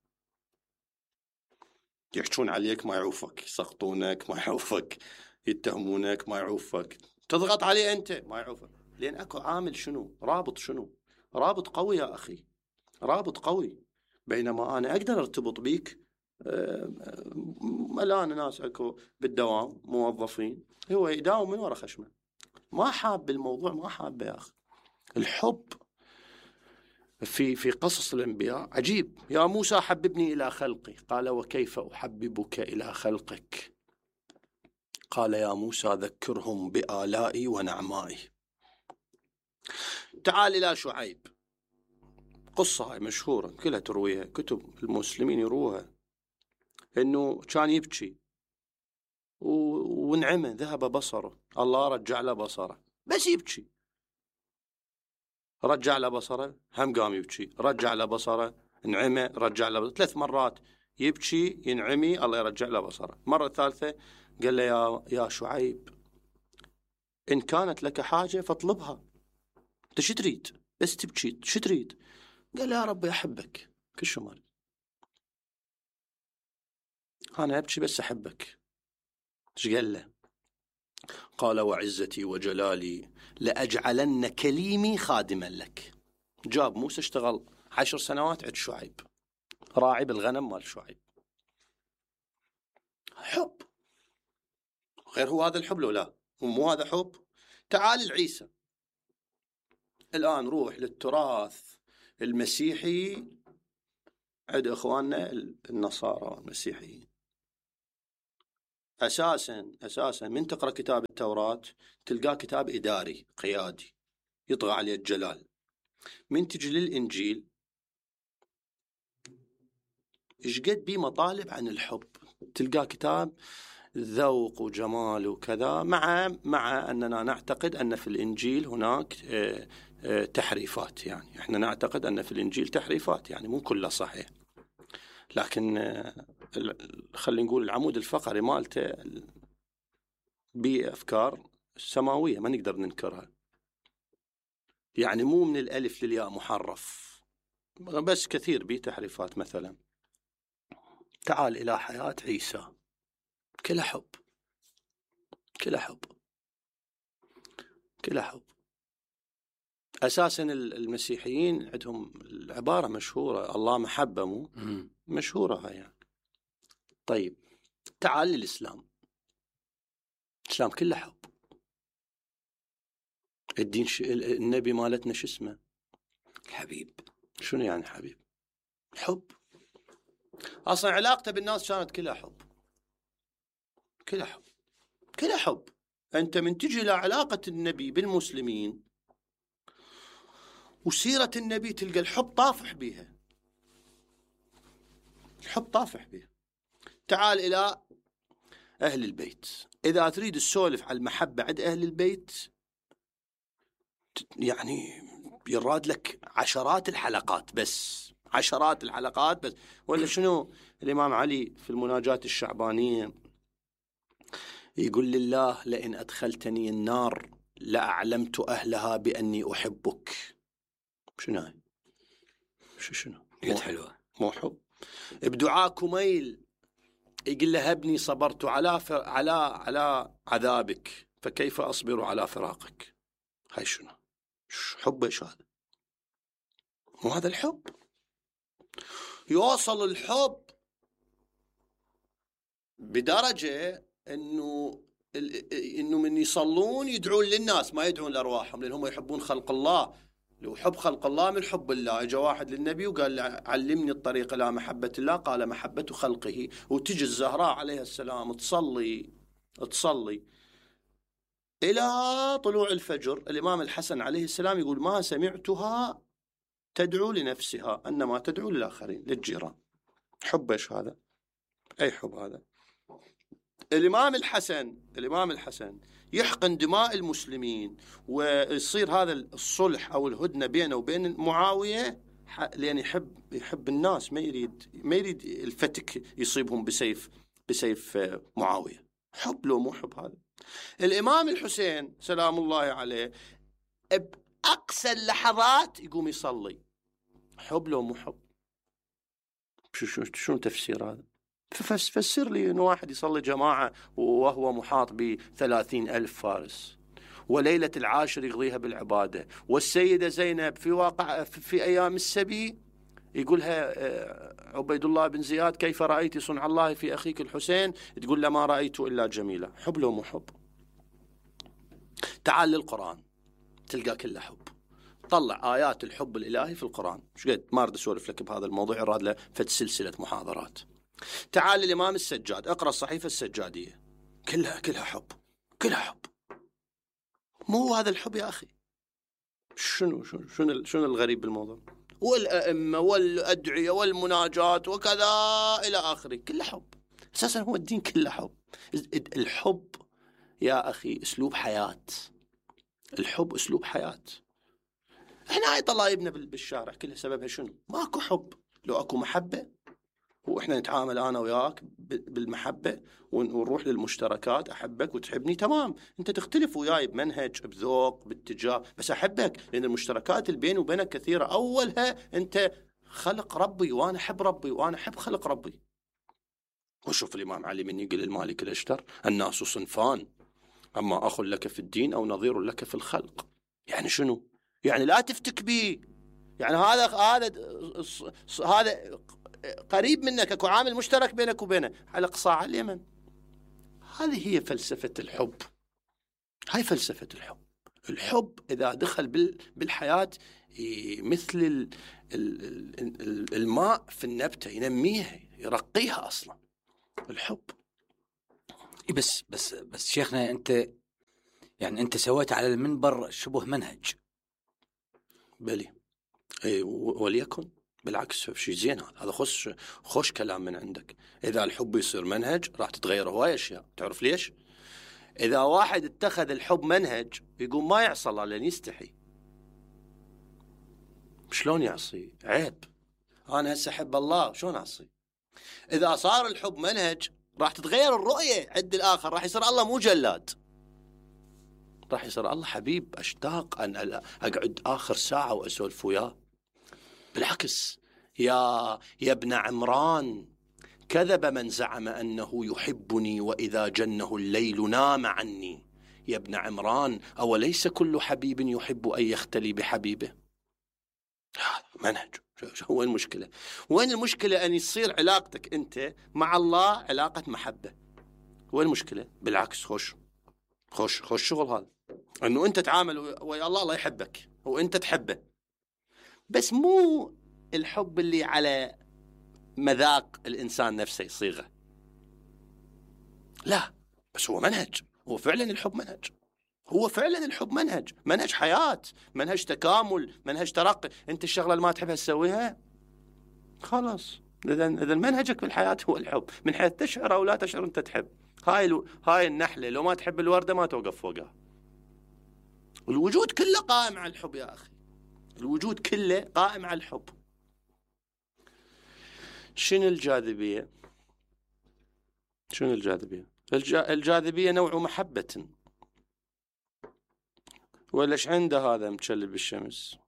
يحشون عليك ما يعوفك، يسقطونك ما يعوفك، يتهمونك ما يعوفك، تضغط عليه أنت ما يعوفك، لأن أكو عامل شنو؟ رابط شنو؟ رابط قوي يا أخي، رابط قوي. بينما أنا أقدر أرتبط بيك، ملان ناس أكو بالدوام موظفين، هو يداوم من وراء خشمه، ما حاب الموضوع، ما حاب يا أخي. الحب في قصص الأنبياء عجيب. يا موسى حببني إلى خلقي، قال وكيف أحببك إلى خلقك؟ قال يا موسى ذكرهم بآلائي ونعمائي. تعال إلى شعيب، قصة هاي مشهورة كلها ترويها كتب المسلمين يروها، إنه كان يبكي ونعمه ذهب بصره، الله رجع له بصره، بس يبكي. رجع له بصره، هم قام يبكي، رجع له بصره، نعمه، رجع له بصره. 3 مرات يبكي ينعمي، الله يرجع له بصره. مرة ثالثة قال له يا شعيب إن كانت لك حاجة فاطلبها، أنت شو تريد؟ بس تبكي شو تريد؟ قال له يا ربي أحبك كل شو مال، أنا أبكي بس أحبك. إيش قال له؟ قال وعزتي وجلالي لأجعلن كليمي خادما لك. جاب موسى اشتغل 10 سنوات عند شعيب، راعي بالغنم مال شعيب. حب غير هو هذا الحب لو لا؟ مو هذا حب؟ تعال العيسى الآن، روح للتراث المسيحي عند اخواننا النصارى والمسيحيين. اساسا من تقرا كتاب التوراة تلقاه كتاب اداري قيادي يطغى عليه الجلال. من تجي للانجيل ايش قد بيه مطالب عن الحب، تلقاه كتاب ذوق وجمال وكذا، مع اننا نعتقد ان في الانجيل هناك تحريفات. يعني احنا نعتقد ان في الانجيل تحريفات، يعني مو كله صحيح، لكن خلينا نقول العمود الفقري مالته بأفكار سماوية ما نقدر ننكرها. يعني مو من الألف للياء محرف، بس كثير بيه تحريفات. مثلا تعال إلى حياة عيسى، كلها حب، كلها حب، كلها حب. أساسا المسيحيين عندهم العبارة مشهورة، الله محبة، مو مشهورة هاي يعني. طيب تعال للإسلام، الإسلام كله حب. الدين النبي مالتنا شو اسمه؟ الحبيب. شنو يعني حبيب؟ حب. أصلا علاقته بالناس كانت كلها حب، كلها حب، كلها حب. أنت من تجي لعلاقة النبي بالمسلمين وسيرة النبي تلقى الحب طافح بيها، الحب طافح بيها. تعال إلى أهل البيت، إذا تريد تسولف على المحبة عند أهل البيت يعني يراد لك عشرات الحلقات، بس عشرات الحلقات بس. ولا شنو الإمام علي في المناجاة الشعبانية يقول: لله لئن أدخلتني النار لأعلمت أهلها بأني أحبك. شنو هاي؟ شنو؟ قد حلوة. مو حب؟ بدعاء كميل يقول له: هبني صبرت على عذابك فكيف أصبر على فراقك. هاي شنو؟ حب ايش هذا؟ مو هذا الحب. يوصل الحب بدرجة انه من يصلون يدعون للناس ما يدعون لأرواحهم، لأنهم يحبون خلق الله. لو حب خلق الله من حب الله. اجا واحد للنبي وقال: علمني الطريق إلى محبة الله، قال: محبة خلقه. وتجي الزهراء عليها السلام تصلي إلى طلوع الفجر. الإمام الحسن عليه السلام يقول: ما سمعتها تدعو لنفسها أنما تدعو للآخرين، للجيران. حب ايش هذا؟ أي حب هذا؟ الإمام الحسن يحقن دماء المسلمين ويصير هذا الصلح أو الهدنة بينه وبين معاوية، لأن يحب الناس، ما يريد الفتك يصيبهم بسيف معاوية. حب لو مو حب هذا؟ الإمام الحسين سلام الله عليه بأقصى اللحظات يقوم يصلي. حب لو مو حب؟ شو تفسير هذا؟ فسر لي إنه واحد يصلي جماعة وهو محاط ب30,000 فارس، وليلة العاشر يقضيها بالعبادة، والسيدة زينب في أيام السبي يقولها عبيد الله بن زياد: كيف رأيت صنع الله في أخيك الحسين؟ تقول: لا ما رأيت إلا جميلة. حب لو مو حب؟ تعال للقرآن تلقى كله حب. طلع آيات الحب الإلهي في القرآن. مش قد ما أريد أسولف لك بهذا الموضوع، يراد له فد سلسلة محاضرات. تعال للإمام السجاد، اقرأ الصحيفة السجادية، كلها حب، كلها حب. مو هذا الحب يا أخي؟ شنو الغريب بالموضوع؟ والأئمة والأدعية والمناجات وكذا إلى آخره، كله حب. أساسا هو الدين كله حب. الحب يا أخي أسلوب حياة. الحب أسلوب حياة. احنا هاي طلايبنا بالشارع كلها سببها شنو؟ ماكو حب. لو اكو محبة واحنا نتعامل انا وياك بالمحبة ونروح للمشتركات، احبك وتحبني، تمام. انت تختلف وياي بمنهج، بذوق، باتجاه، بس احبك لان المشتركات اللي بيني وبينك كثيرة. اولها انت خلق ربي وانا احب ربي وانا احب خلق ربي. وشوف الامام علي من يقول المالك الاشتر: الناس صنفان، اما اخ لك في الدين او نظير لك في الخلق. يعني شنو؟ يعني لا تفتك بي، يعني هذا قريب منك، اكو عامل مشترك بينك وبينه على قصاع اليمن. هذه هي فلسفة الحب. هاي فلسفة الحب. الحب إذا دخل بالحياة مثل الماء في النبتة، ينميها يرقيها أصلا الحب. بس شيخنا أنت سويت على المنبر شبه منهج. بلي وليكن بالعكس شيء زين، هذا خوش كلام من عندك. إذا الحب يصير منهج راح تتغير هواي أشياء. تعرف ليش؟ إذا واحد اتخذ الحب منهج يقوم ما يعصى الله لأن يستحي. شلون يعصي؟ عيب. أنا هسه أحب الله شلون أعصي؟ إذا صار الحب منهج راح تتغير الرؤية عند الآخر، راح يصير الله مو جلاد، راح يصير الله حبيب أشتاق أن أقعد آخر ساعة وأسولف وياه. بالعكس يا ابن عمران، كذب من زعم أنه يحبني وإذا جنه الليل نام عني. يا ابن عمران، أوليس كل حبيب يحب أن يختلي بحبيبه؟ منهج. وين المشكلة؟ وين المشكلة أن يصير علاقتك أنت مع الله علاقة محبة؟ وين المشكلة؟ بالعكس خوش شغل هذا، أنه أنت تعامل ويا الله يحبك وأنت تحبه، بس مو الحب اللي على مذاق الإنسان نفسه يصيغه، لا، بس هو منهج. هو فعلا الحب منهج، هو فعلا الحب منهج حياة، منهج تكامل، منهج ترقي. أنت الشغلة اللي ما تحبها تسويها خلاص. إذا منهجك في الحياة هو الحب، من حيث تشعر أو لا تشعر أنت تحب. هاي النحلة لو ما تحب الوردة ما توقف فوقها. الوجود كله قائم على الحب يا أخي، الوجود كله قائم على الحب. شنو الجاذبية؟ الجاذبية نوع محبة. وليش عنده هذا متشلل بالشمس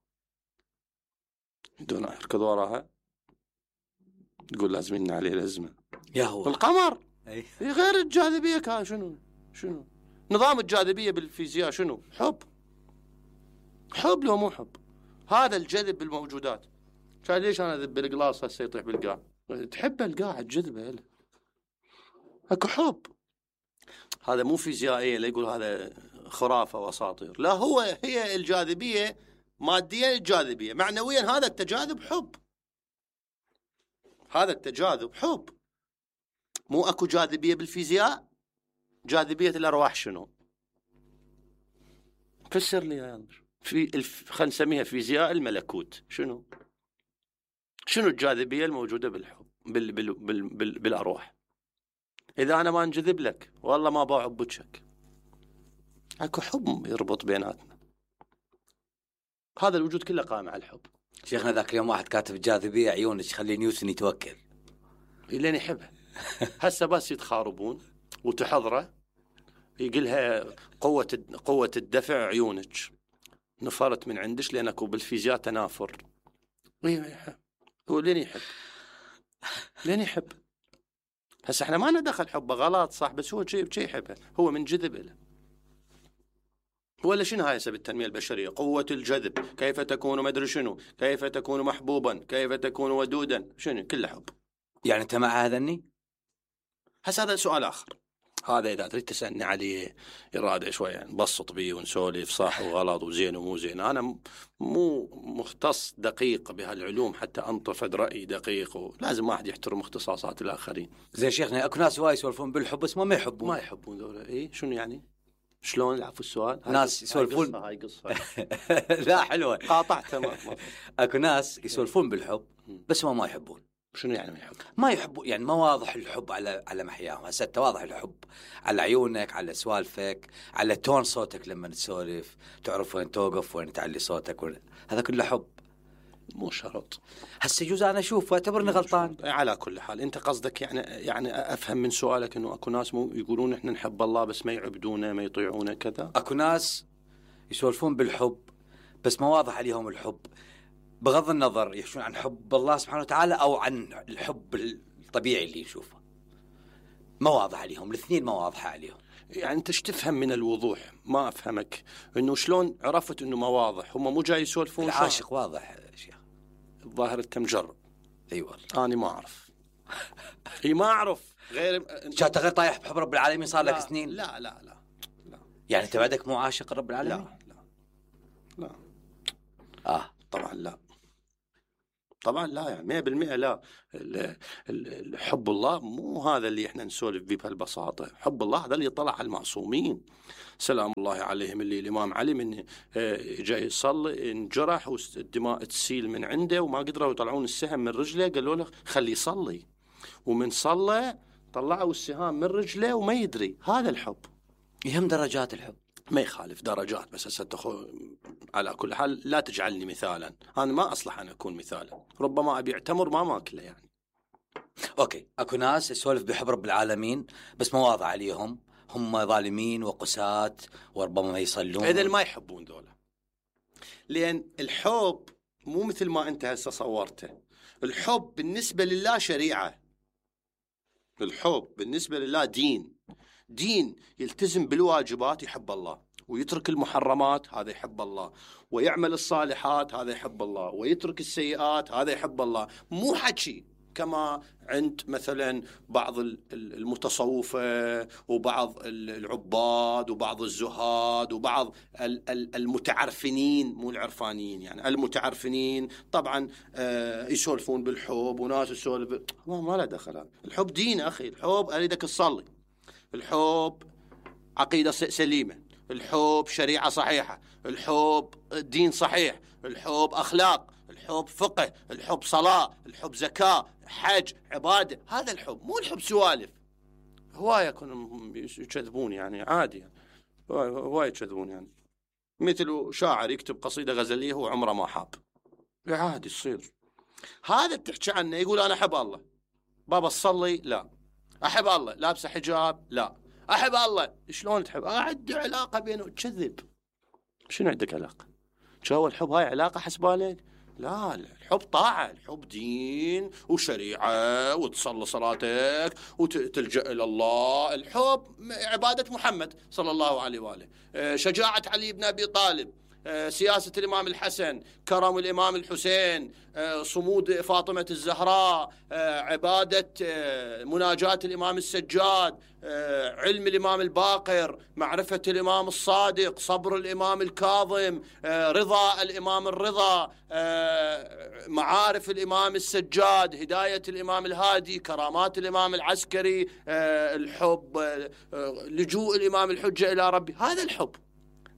دون يركض وراها، تقول لازم ينع عليه الأزمة يا هو القمر. غير الجاذبية كان شنو نظام الجاذبية بالفيزياء؟ شنو؟ حب لو مو حب. هذا الجذب بالموجودات. كان ليش أنا أذب بالقلاص هسه يطيح بالقاع؟ تحب القاع تجذبه، اكو حب. هذا مو فيزيائية لا يقول هذا خرافة وأساطير، لا، هي الجاذبية ماديا، الجاذبية معنويا. هذا التجاذب حب، هذا التجاذب حب. مو أكو جاذبية بالفيزياء؟ جاذبية الأرواح شنو؟ فسر لي يا خلينا نسميها فيزياء الملكوت. شنو الجاذبية الموجودة بالحب بالأرواح؟ إذا أنا ما انجذب لك والله ما بعب بوجهك. اكو حب يربط بيناتنا. هذا الوجود كله قائم على الحب. شيخنا ذاك اليوم واحد كاتب الجاذبية عيونك خلي نيوتن يتوكل. لين يحبها. هسه بس يتخاربون وتحضره يقولها قوة الدفع عيونك نفرت من عندش لأنكو بالفيزياء تنافر. هو لين يحب. هسه احنا ما ندخل حبه غلط صح، بس هو شيء يحبها، هو من جذب له. ولا شنو هاي سبب التنمية البشرية؟ قوة الجذب، كيف تكون مدري شنو، كيف تكون محبوبا، كيف تكون ودودا، شنو كله حب. يعني أنت مع هذا الني؟ هسه هذا سؤال آخر، هذا إذا تريد تسألني عليه إرادة شوية نبسط بيه ونسولف صح وغلط وزين ومو زين. أنا مو مختص دقيق بهالعلوم حتى أنطفد رأي دقيق، ولازم واحد يحترم اختصاصات الآخرين. زين شيخنا أكو ناس وايد يسولفون بالحب بس ما يحبون ذولا. إيه شنو يعني؟ شلون العفو السؤال؟ ناس يسولفون هاي قصة لا حلوة قاطعتها. أكو ناس يسولفون بالحب بس ما يحبون. شنو يعني ما يحبوا؟ يعني ما واضح الحب على محياهم. هسه واضح الحب على عيونك، على سوالفك، على تون صوتك لما تسولف، تعرف وين توقف وين تعلي صوتك هذا كله حب. مو شرط. هسه يجوز انا اشوف واعتبرني غلطان. على كل حال انت قصدك يعني افهم من سؤالك انه اكو ناس مو يقولون احنا نحب الله بس ما يعبدونه ما يطيعونه كذا. اكو ناس يسولفون بالحب بس ما واضح عليهم الحب، بغض النظر يحشون عن حب الله سبحانه وتعالى أو عن الحب الطبيعي اللي نشوفه، ما واضح عليهم الاثنين، ما واضحة عليهم. يعني أنت تفهم من الوضوح؟ ما أفهمك إنه شلون عرفت إنه ما واضح. هم مو جاي يسولفون. العاشق واضح شيخ. الظاهر أنت مجرب. أي والله أنا ما أعرف. ما أعرف غير شاطر طايح بحب رب العالمين صار لك سنين. لا يعني أنت بعدك مو عاشق رب العالمين؟ لا طبعا لا، طبعا لا، يعني 100% لا. حب الله مو هذا اللي احنا نسولف به بهالبساطه. حب الله هذا اللي طلع على المعصومين سلام الله عليهم، اللي الامام علي من جاي يصلي انجرح والدماء تسيل من عنده وما قدروا يطلعون السهم من رجله، قالوا له خليه يصلي، ومن صلى طلعوا السهام من رجله وما يدري. هذا الحب. يهم درجات الحب، ما يخالف درجات، بس على كل حال لا تجعلني مثالا، أنا ما أصلح أن أكون مثالا، ربما أبي أعتمر ما ماكله يعني. أوكي، أكو ناس يسولف بحب رب العالمين بس ما واضح عليهم، هم ظالمين وقساة وربما ما يصلون. إذن ما يحبون ذولا، لأن الحب مو مثل ما أنت هسه صورته. الحب بالنسبة لله شريعة، الحب بالنسبة لله دين يلتزم بالواجبات يحب الله، ويترك المحرمات هذا يحب الله، ويعمل الصالحات هذا يحب الله، ويترك السيئات هذا يحب الله. مو حكي كما عند مثلا بعض المتصوفة وبعض العباد وبعض الزهاد وبعض المتعرفنين، مو العرفانيين يعني، المتعرفنين طبعا يسولفون بالحب، وناس يسولف ما له دخل. الحب دين أخي، الحب أريدك تصلي، الحب عقيدة سليمة، الحب شريعة صحيحة، الحب دين صحيح، الحب أخلاق، الحب فقه، الحب صلاة، الحب زكاة، حج، عبادة. هذا الحب، مو الحب سوالف. هواية يكونوا يكذبون يعني، عادي يعني. هواية يكذبون يعني، مثل شاعر يكتب قصيدة غزلية هو عمره ما حاب، عادي يصير. هذا بتحكي عنه يقول أنا أحب الله، بابا تصلي؟ لا. أحب الله، لابسه حجاب؟ لا. أحب الله. شلون تحب؟ عندي علاقة بينه. تكذب. شنو عندك علاقة؟ شو الحب؟ هاي علاقة حسبالك؟ لا، الحب طاعة، الحب دين وشريعة، وتصلي صلاتك وتلجأ إلى الله. الحب عبادة محمد صلى الله عليه وآله، شجاعة علي بن أبي طالب، سياسة الإمام الحسن، كرم الإمام الحسين، صمود فاطمة الزهراء، عبادة مناجاة الإمام السجاد، علم الإمام الباقر، معرفة الإمام الصادق، صبر الإمام الكاظم، رضا الإمام الرضا، معارف الإمام السجاد، هداية الإمام الهادي، كرامات الإمام العسكري، الحب، لجوء الإمام الحجة إلى ربي. هذا الحب،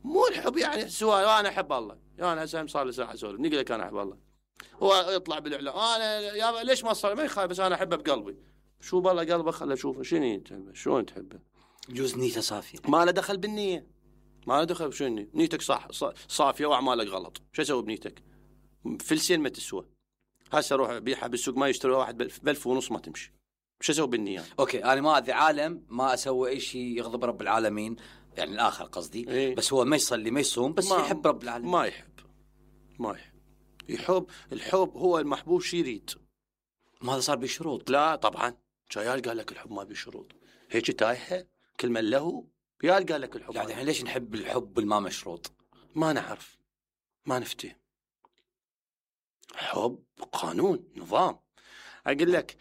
مو الحب يعني سؤال أنا أحب الله. أنا هسه صار لي ساعة أسولف نقول لك أنا أحب الله، هو يطلع بالإعلام أنا يا ليش ما صار؟ ما يخالف، بس أنا أحبه بقلبي. شو بالله قلبه؟ خله أشوفه شنو تحبه، شلون تحبه. يجوز نيته صافية، ما له دخل بالنية، ما له دخل. شنو نيتك صافية وأعمالك غلط، شو أسوي بنيتك؟ فلسين ما تسوى. هسه روح بيعها بالسوق ما يشتري واحد ب1500 ما تمشي. شو أسوي بالنية؟ أوكي، أنا ما أذي عالم، ما أسوي أي شيء يغضب رب العالمين يعني الآخر قصدي. إيه؟ بس هو ما يصلي ما يصوم، بس يحب رب العالمين. ما يحب. الحب هو المحبوب شي يريد. ما هذا صار بشروط؟ لا طبعا. شيال قال لك الحب ما بشروط، هيك تايحه كلمه له. يال قال لك الحب يعني ليش نحب الحب الما مشروط؟ ما نعرف، ما نفتي. حب قانون نظام. اقول لك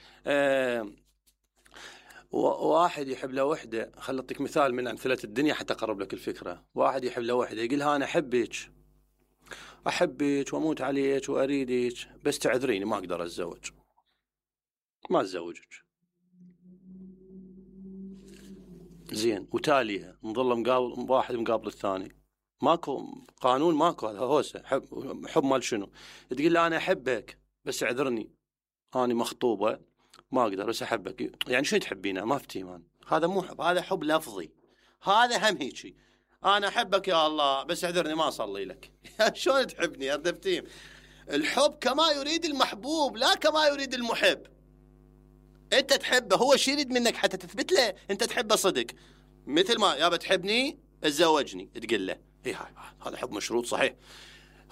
واحد يحب له وحده، خل اعطيك مثال من امثله الدنيا حتى اقرب لك الفكره. واحد يحب له وحده يقول لها انا احبك واموت عليك واريدك، بس تعذريني ما اقدر اتزوج، ما اتزوجك. زين، وتاليها نظل مقابل واحد مقابل الثاني، ماكو قانون، ماكو. هذا هوسه حب مال شنو؟ تقول له انا احبك بس اعذرني، انا مخطوبه ما اقدر بس احبك. يعني شو تحبينه؟ ما افتيمان. هذا مو حب، هذا حب لفظي. هذا هم هيجي انا احبك يا الله بس اعذرني ما اصلي لك. شلون تحبني؟ اردفتيم. الحب كما يريد المحبوب لا كما يريد المحب. انت تحبه، هو شي يريد منك حتى تثبت له انت تحبه صدق. مثل ما يابا تحبني اتزوجني، تقول له اي هذا حب مشروط صحيح.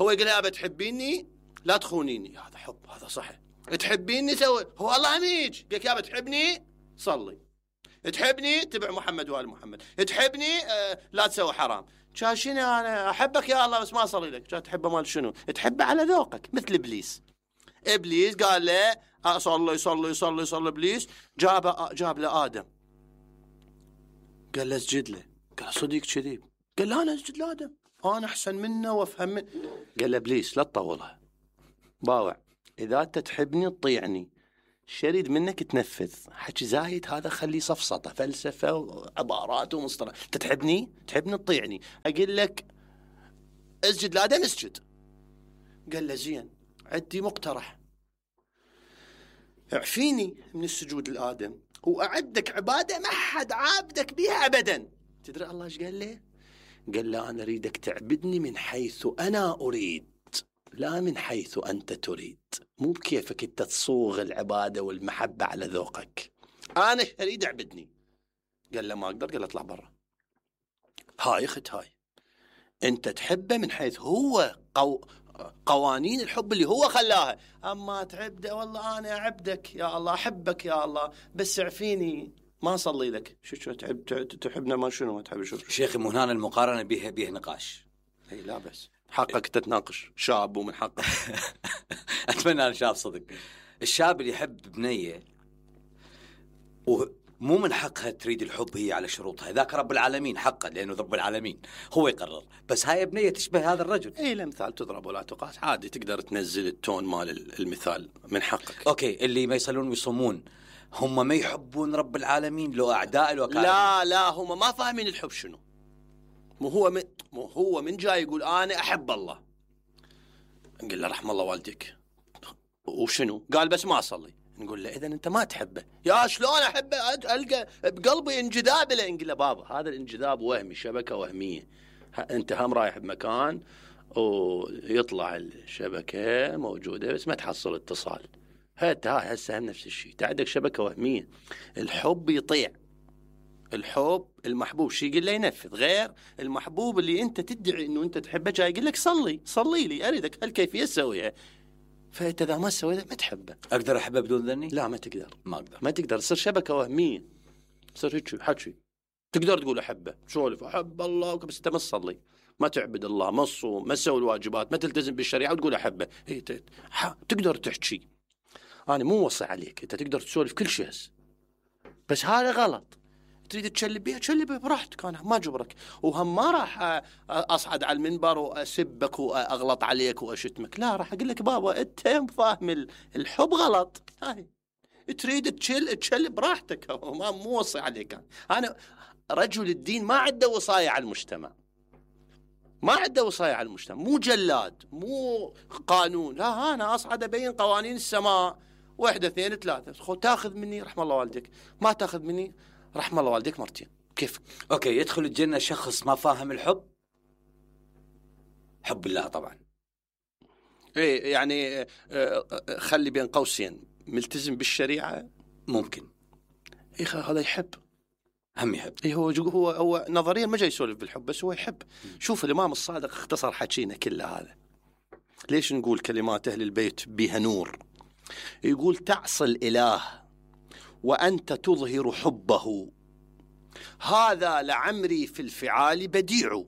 هو يقول يابا تحبيني لا تخونيني، هذا حب، هذا صحيح. تحبيني سوي، هو الله عميج قال يابا تحبني صلي، تحبني تبع محمد وآل محمد، تحبني لا تسوي حرام. شاشيني انا احبك يا الله بس ما اصلي لك. تحبه مال شنو؟ تحبه على ذوقك. مثل ابليس قال له صلي. ابليس جاب له ادم، قال له اسجد له. قال صديق كذب. قال لا انا اسجد لادم، انا احسن منه وافهم منه. قال له بليس لا تطولها باوع، اذا انت تحبني تطيعني، شريد منك تنفذ. حكي زايد هذا خليه صفصطه فلسفه وعبارات ومصطلح. انت تحبني تطيعني، اقول لك اسجد لادم اسجد. قال له زين عندي مقترح، اعفيني من السجود لآدم واعدك عباده ما حد عابدك بها ابدا. تدري الله ايش قال له؟ قال له انا اريدك تعبدني من حيث انا اريد، لا من حيث انت تريد. مو بكيفك انت تصوغ العباده والمحبه على ذوقك. انا اريد اعبدني. قال له ما اقدر. قال له اطلع برا. هاي اخت هاي، انت تحبه من حيث هو قوانين الحب اللي هو خلاها. اما تعبده والله انا اعبدك يا الله، احبك يا الله، بس اعفيني ما اصلي لك. شو تحبنا ما شنو ما تحب شو؟ شيخي مو هنا المقارنه بيه نقاش. اي لا بس حقك تتناقش، شاب ومن حقك. اتمنى انا شاب صدق. الشاب اللي يحب بنيه ومو من حقها تريد الحب هي على شروطها، ذاك رب العالمين حقا، لانه رب العالمين هو يقرر. بس هاي بنيه تشبه هذا الرجل. اي الامثال تضرب ولا تقاس، عادي تقدر تنزل التون مال المثال من حقك. اوكي، اللي ما يصلون ويصومون هم ما يحبون رب العالمين لو اعداء الوكاله؟ لا هم ما فاهمين الحب شنو. مو هو من جاي يقول انا احب الله. نقول له رحم الله والديك وشنو؟ قال بس ما اصلي. نقول له اذا انت ما تحبه. يا شلون احبه؟ القى بقلبي انجذاب له. نقول له بابا هذا الانجذاب وهمي، شبكه وهميه. انت هم رايح بمكان ويطلع الشبكه موجوده بس ما تحصل اتصال. هاي هسه هم نفس الشيء، عندك شبكه وهميه. الحب يطيع، الحب المحبوب شي يقول له ينفذ، غير المحبوب اللي انت تدعي انه انت تحبه جاي يقول لك صلي لي اريدك هالكيفيه تسويها. فانت اذا ما سويتها ما تحبه. اقدر احبه بدون ذني؟ لا ما تقدر. ما تقدر. تصير شبكه وهميه، تصير هيك حكي. تقدر تقول احبه، سولف احب الله بس انت ما تصلي، ما تعبد الله، ما تصوم، ما تسوي الواجبات، ما تلتزم بالشريعه وتقول احبه. تقدر تحكي، انا مو وصي عليك، انت تقدر تسولف كل شيء بس هذا غلط. تريد تشلب بيه براحتك، انا ما جبرك. وهم ما راح اصعد على المنبر واسبك واغلط عليك واشتمك، لا راح اقول لك بابا انت فاهم الحب غلط. هاي تريد تشل براحتك، مو وصي عليك. انا رجل الدين ما عنده وصايا على المجتمع، ما عنده وصايا على المجتمع، مو جلاد، مو قانون. لا انا اصعد ابين قوانين السماء، 1 2 3. تاخذ مني رحم الله والديك، ما تاخذ مني رحم الله والديك مرتين. كيف؟ اوكي، يدخل الجنه شخص ما فاهم الحب؟ حب الله طبعا. ايه يعني خلي بين قوسين ملتزم بالشريعه ممكن. ايه هذا يحب، هم يحب. ايه هو نظريا ما جاي يسولف بالحب بس هو يحب. شوف الامام الصادق اختصر حكينا كله هذا. ليش نقول كلمات اهل البيت بها نور؟ يقول تعصي الاله وانت تظهر حبه، هذا لعمري في الفعال بديع،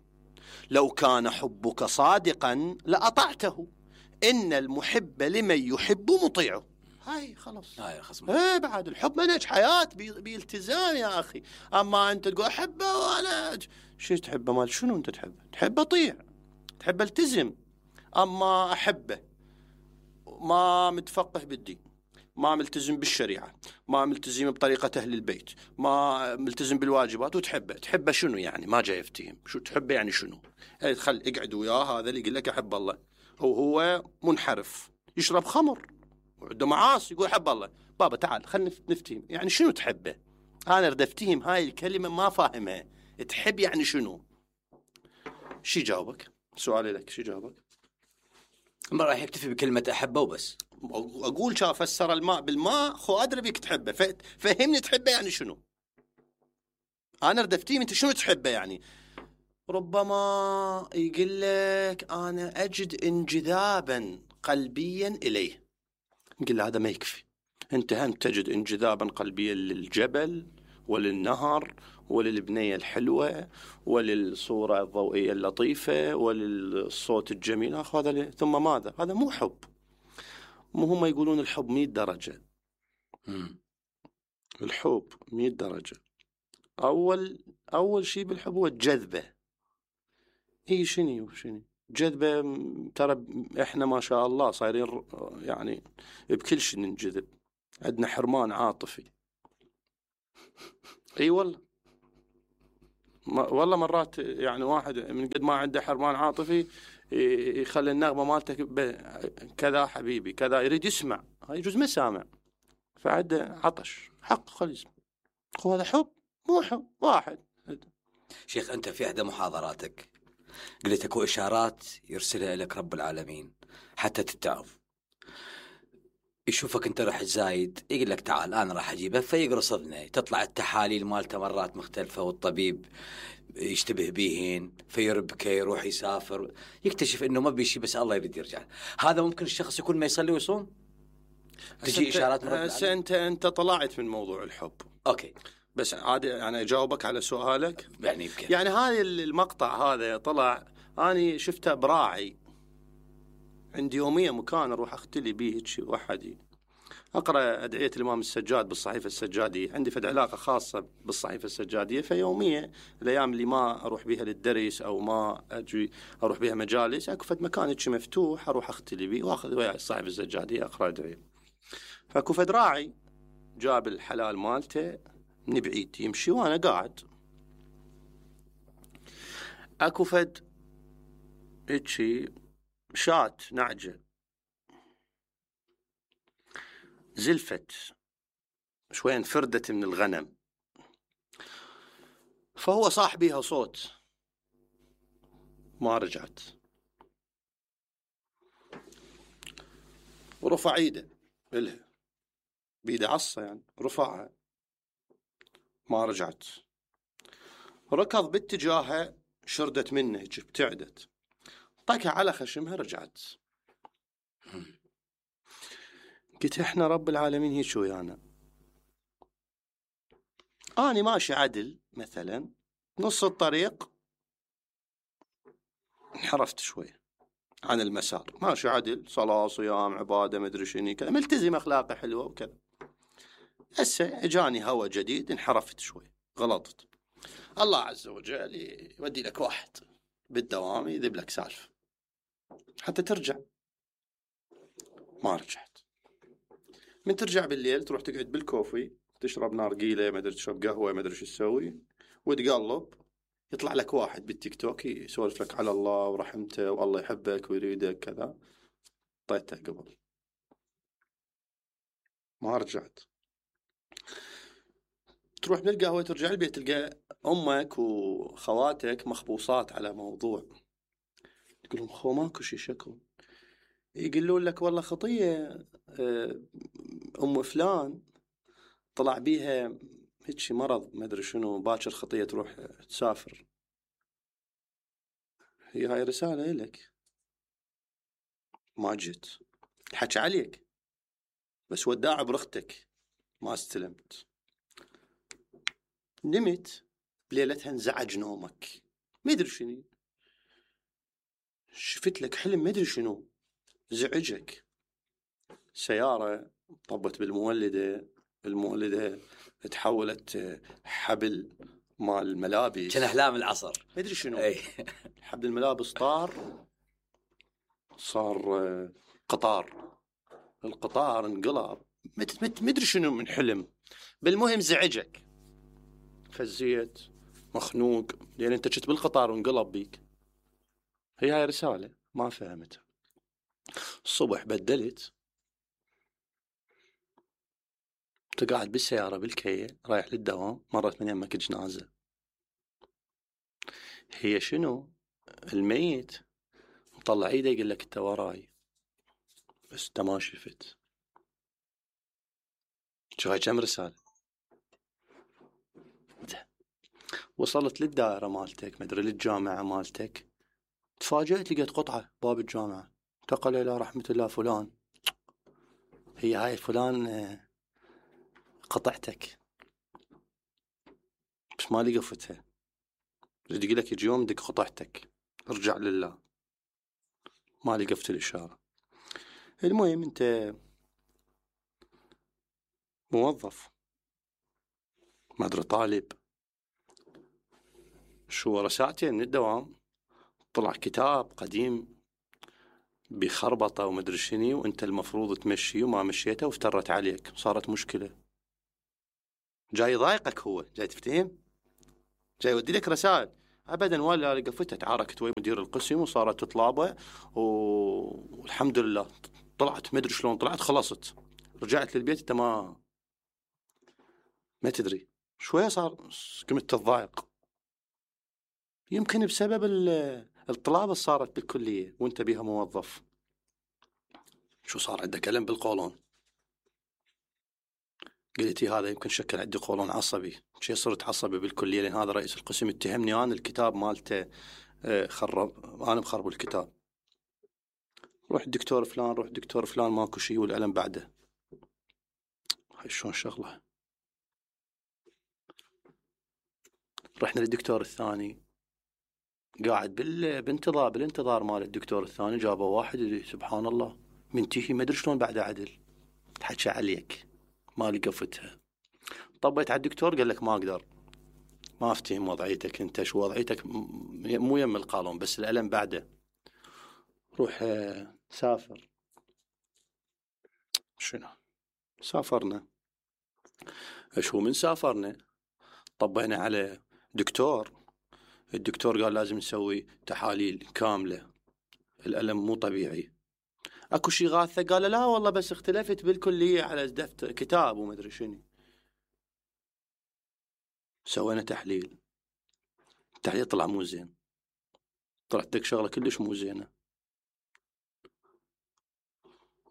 لو كان حبك صادقا لأطعته، إن المحب لمن يحب مطيعه. هاي خلاص، هاي خصم. ايه بعد الحب منهج حياة بالتزام يا أخي. أما أنت تقول أحبه وأنا شو تحبه؟ مال شنو أنت تحبه؟ تحبه طيع، تحبه التزم. أما أحبه ما متفقه بالدين، ما ملتزم بالشريعة، ما ملتزم بطريقة أهل البيت، ما ملتزم بالواجبات، تحبه شنو يعني؟ ما جاي يفتهم شو تحبه يعني شنو؟ خل اقعد وياه هذا اللي يقول لك أحب الله وهو منحرف يشرب خمر وعنده معاصي يقول أحب الله. بابا تعال خلنا نفتهم يعني شنو تحبه. أنا أريد أفتهم هاي الكلمة ما فاهمها. تحب يعني شنو؟ شي جاوبك؟ سؤالي لك شي جاوبك؟ ما راح يكتفي بكلمة أحبه وبس. أقول شاف فسر الماء بالماء خو أدري بيك تحبه، فهمني تحبه يعني شنو. أنا ردفتيه أنت شنو تحبه يعني. ربما يقول لك أنا أجد انجذابا قلبيا إليه. نقول له هذا ما يكفي. أنت هم تجد انجذابا قلبيا للجبل وللنهر وللبنية الحلوة وللصورة الضوئية اللطيفة وللصوت الجميل. هذا ثم ماذا؟ هذا مو حب. مو هم يقولون الحب 100 درجة. الحب 100 درجة. أول شيء بالحب هو الجذبة. هي شنو جذبة. ترى احنا ما شاء الله صايرين يعني بكل شيء ننجذب، عندنا حرمان عاطفي. اي والله، والله مرات يعني واحد من قد ما عنده حرمان عاطفي يخلي النغمة مالتك كذا حبيبي كذا، يريد يسمع، هاي يجوز ما سامع، فعنده عطش حق خلي يسمع. هذا حب مو حب واحد. شيخ أنت في إحدى محاضراتك قلت اكو إشارات يرسلها لك رب العالمين حتى تتعظ. يشوفك أنت رح زايد يقول لك تعال أنا راح أجيبه، فيقرص أذنه، تطلع التحاليل مالته مرات مختلفة والطبيب يشتبه بيهن، فيربكه يروح يسافر، يكتشف إنه ما بيشي بس الله يريد يرجع. هذا ممكن الشخص يكون ما يصلي ويصوم؟ تجي إشارات من رب العالمين. أنت طلعت من موضوع الحب. أوكي، بس عادي يعني أجاوبك على سؤالك. يعني هذا المقطع هذا طلع أنا شفته براعي، عندي يوميا مكان أروح أختلي به شيء وحدي، أقرأ أدعية الإمام السجاد بالصحيفة السجادية، عندي فد علاقة خاصة بالصحيفة السجادية، فيوميا الأيام اللي ما أروح بها للدرس أو ما أجي أروح بها مجالس، أكو فد مكان شيء مفتوح أروح أختلي به وأخذ وياي الصحيفة السجادية أقرأ أدعية. فأكو فد راعي جاب الحلال مالته من بعيد يمشي وأنا قاعد، أكو فد هيجي شات نعجة زلفت شوي انفردت من الغنم، فهو صاح بيها صوت ما رجعت، ورفع ايده إلها بيده عصا يعني، رفعها ما رجعت، ركض باتجاهها شردت منه ابتعدت، طقها على خشمها رجعت. قلت احنا رب العالمين هيك شو يعني؟ أنا ماشي عدل مثلا نص الطريق انحرفت شوي عن المسار، ماشي عدل صلاة صيام عبادة مدري شنو كذا، ملتزم أخلاقي حلوة وكذا، هسه اجاني هوا جديد انحرفت شوي غلطت، الله عز وجل يودي لك واحد بالدوام يذب لك سالفة حتى ترجع. ما رجعت، من ترجع بالليل تروح تقعد بالكوفي تشرب نارقيلة ما ادري تشرب قهوة ما ادري شو تسوي، وتقلب يطلع لك واحد بالتيك توك يسولف لك على الله ورحمته والله يحبك ويريدك كذا، طيته قبل ما رجعت. تروح من القهوة ترجع البيت تلقى أمك وخواتك مخبوصات على موضوع، تقول لهم خو ماكو شي شكو، يقولون لك والله خطية أم فلان طلع بيها هيك مرض ما أدري شنو، باكر خطية تروح تسافر. هي هاي رسالة لك، ما جيت الحكي عليك بس وداع برختك ما استلمت، نمت بليلتها انزعج نومك ما ادري شنو، شفت لك حلم ما ادري شنو زعجك، سيارة طبت بالمولدة، المولدة تحولت حبل مال الملابس، كان أحلام العصر ما ادري شنو حبل الملابس صار قطار، القطار انقلب ما ادري شنو من حلم، بالمهم زعجك فزيت مخنوق لأن انت كنت بالقطار وانقلب بيك. هي هاي رسالة ما فهمتها. الصبح بدلت، تقعد بالسيارة بالكية رايح للدوام، مرت من يمك جنازة، هي شنو الميت مطلع ايده يقول لك انت وراي بس انت ما شفت. شو هاي كم رسالة؟ وصلت للدائرة مالتك مدري للجامعة مالتك، تفاجأت لقيت قطعة باب الجامعة انتقل إلى رحمة الله فلان، هي هاي فلان قطعتك بس ما لي قفتها، يقول لك يجي يوم دق قطعتك ارجع لله، ما لي قفت الإشارة. المهم انت موظف ما ادري طالب، شو ورا ساعتين من الدوام طلع كتاب قديم بخربطة ومدري شنو، وانت المفروض تمشيه وما مشيته وافترت عليك، صارت مشكلة. جاي يضايقك، هو جاي تفتهم، جاي يودي لك رسائل. ابدا، ولا لقفته، تعاركت ويا مدير القسم وصارت تطلابه والحمد لله طلعت، ما ادري شلون طلعت، خلصت، رجعت للبيت انت ما تدري. شويه صار قمت تضايق، يمكن بسبب الطلاب اللي صارت بالكليه وانت بيها موظف. شو صار عندك الم بالقولون؟ قلتي هذا يمكن شكل عندي قولون عصبي. شي صرت عصبي بالكليه لان هذا رئيس القسم اتهمني انا الكتاب مالته خرب، انا مخرب الكتاب. روح دكتور فلان، روح دكتور فلان، ماكو شيء والالم بعده. هاي شلون شغله؟ رحنا للدكتور الثاني، قاعد بالانتظار مال الدكتور الثاني، جابوا واحد سبحان الله منتهي ما ادري شلون بعده عدل، تحكى عليك ما لقفتها. طبيت على الدكتور قال لك ما اقدر، ما افتهم وضعيتك انت، شو وضعيتك مو يم القانون بس الالم بعده، روح سافر. شنو سافرنا؟ شو من سافرنا طبينا على دكتور، الدكتور قال لازم نسوي تحاليل كاملة، الألم مو طبيعي. اكو شي غاثة؟ قال لا والله بس اختلفت بالكلية على دفتر كتاب وما ادري شنو. سوينا تحليل، التحليل طلع مو زين، طلعت لك شغلة كلش مو زينة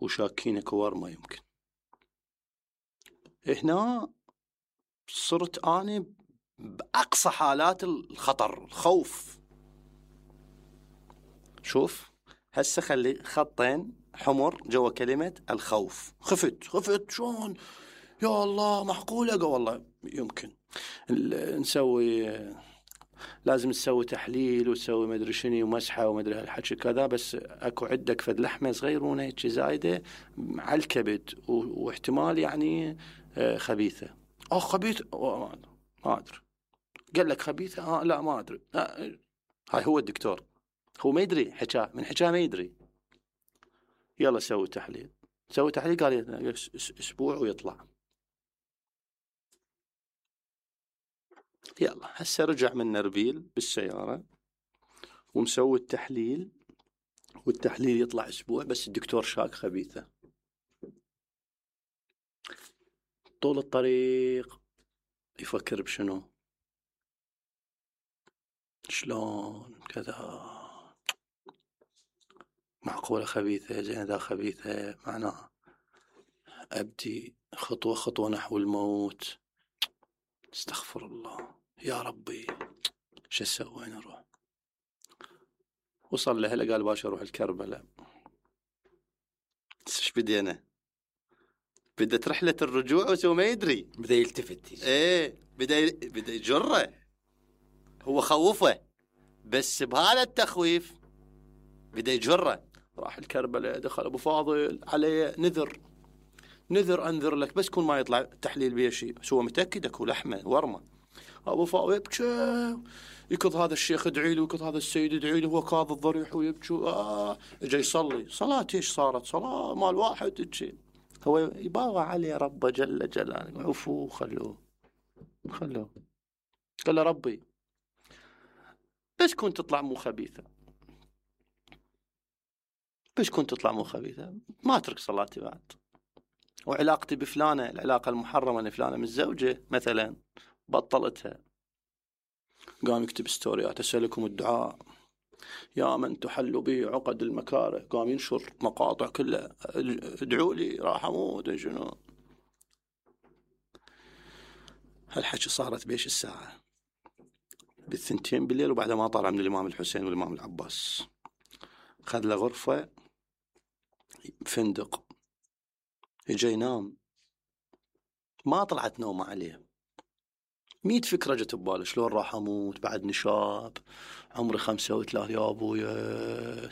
وشاكينك ورمة يمكن. هنا صرت أنا بأقصى حالات الخطر، الخوف. شوف هسه خلي خطين حمر جوا كلمة الخوف. خفت شلون يا الله؟ معقولة؟ والله يمكن نسوي، لازم تسوي تحليل وتسوي مدري شنو ومسحة ومدري هالحكي كذا، بس اكو عندك فد لحمة صغيرونة هيك زايدة على الكبد واحتمال يعني خبيثة. خبيثة؟ ما ادري. قال لك خبيثة؟ لا ما ادري. هاي هو الدكتور، هو ما يدري، حكاه من حكاه ما يدري. يلا سوي تحليل. قال اسبوع ويطلع. يلا هسه رجع من نربيل بالسيارة ومسوي التحليل، والتحليل يطلع اسبوع بس الدكتور شاك خبيثة. طول الطريق يفكر بشنو، شلون كذا، معقولة خبيثة؟ زين اذا خبيثة معناها ابدي خطوة خطوة نحو الموت. استغفر الله يا ربي، شو اسوي؟ نروح. وصل له، قال باشا اروح الكربلاء. ايش بدينا؟ بدت رحلة الرجوع وسو ما يدري، بدا يلتفت. بدا يجره، هو خوفه بس بهذا التخويف بدا يجره. راح الكربلاء، دخل ابو فاضل عليه نذر انذر لك بس كون ما يطلع تحليل بيه شيء، بس هو متاكد اكو لحمه ورمه. ابو فاضل يبكي، يكض هذا الشيخ ادعي له، ويكض هذا السيد ادعي له، هو كاظ الضريح ويبكي. اجى يصلي صلاه. ايش صارت؟ صلاه مال واحد تجي، هو يباوع عليه ربه جل جلاله. عفو، خلوه. قال له ربي بس كنت تطلع مو خبيثة، ما اترك صلاتي بعد، وعلاقتي بفلانة، العلاقة المحرمة لفلانة من الزوجة مثلا بطلتها. قام يكتب ستوريات: أسألكم الدعاء يا من تحل به عقد المكاره. قام ينشر مقاطع كلها: ادعوا لي راح اموت. شنو هالحكي؟ صارت بيش الساعة؟ بالثنتين بالليل، وبعد ما طلع من الإمام الحسين والإمام العباس خذ له غرفة فندق، يجي ينام، ما طلعت نومة عليه. 100 فكرة جت بباله: شلون راح اموت بعدني شاب عمري 35 يا ابويا،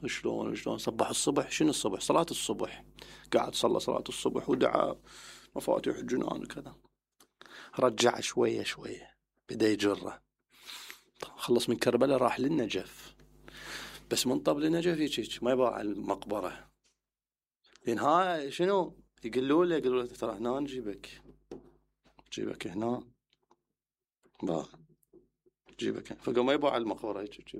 شلون صبح الصبح. شنو الصبح؟ صلاة الصبح. قاعد صلى صلاة الصبح ودعا مفاتيح الجنان وكذا. رجع شوية بدا يجره. خلص من كربلاء راح للنجف، بس من طبل نجف هيك ما يبغى على المقبرة. لأن ها شنو يقولوا له ترى هنا نجيبك هنا با جيبك، فقام ما يبغى على المقبرة هيك.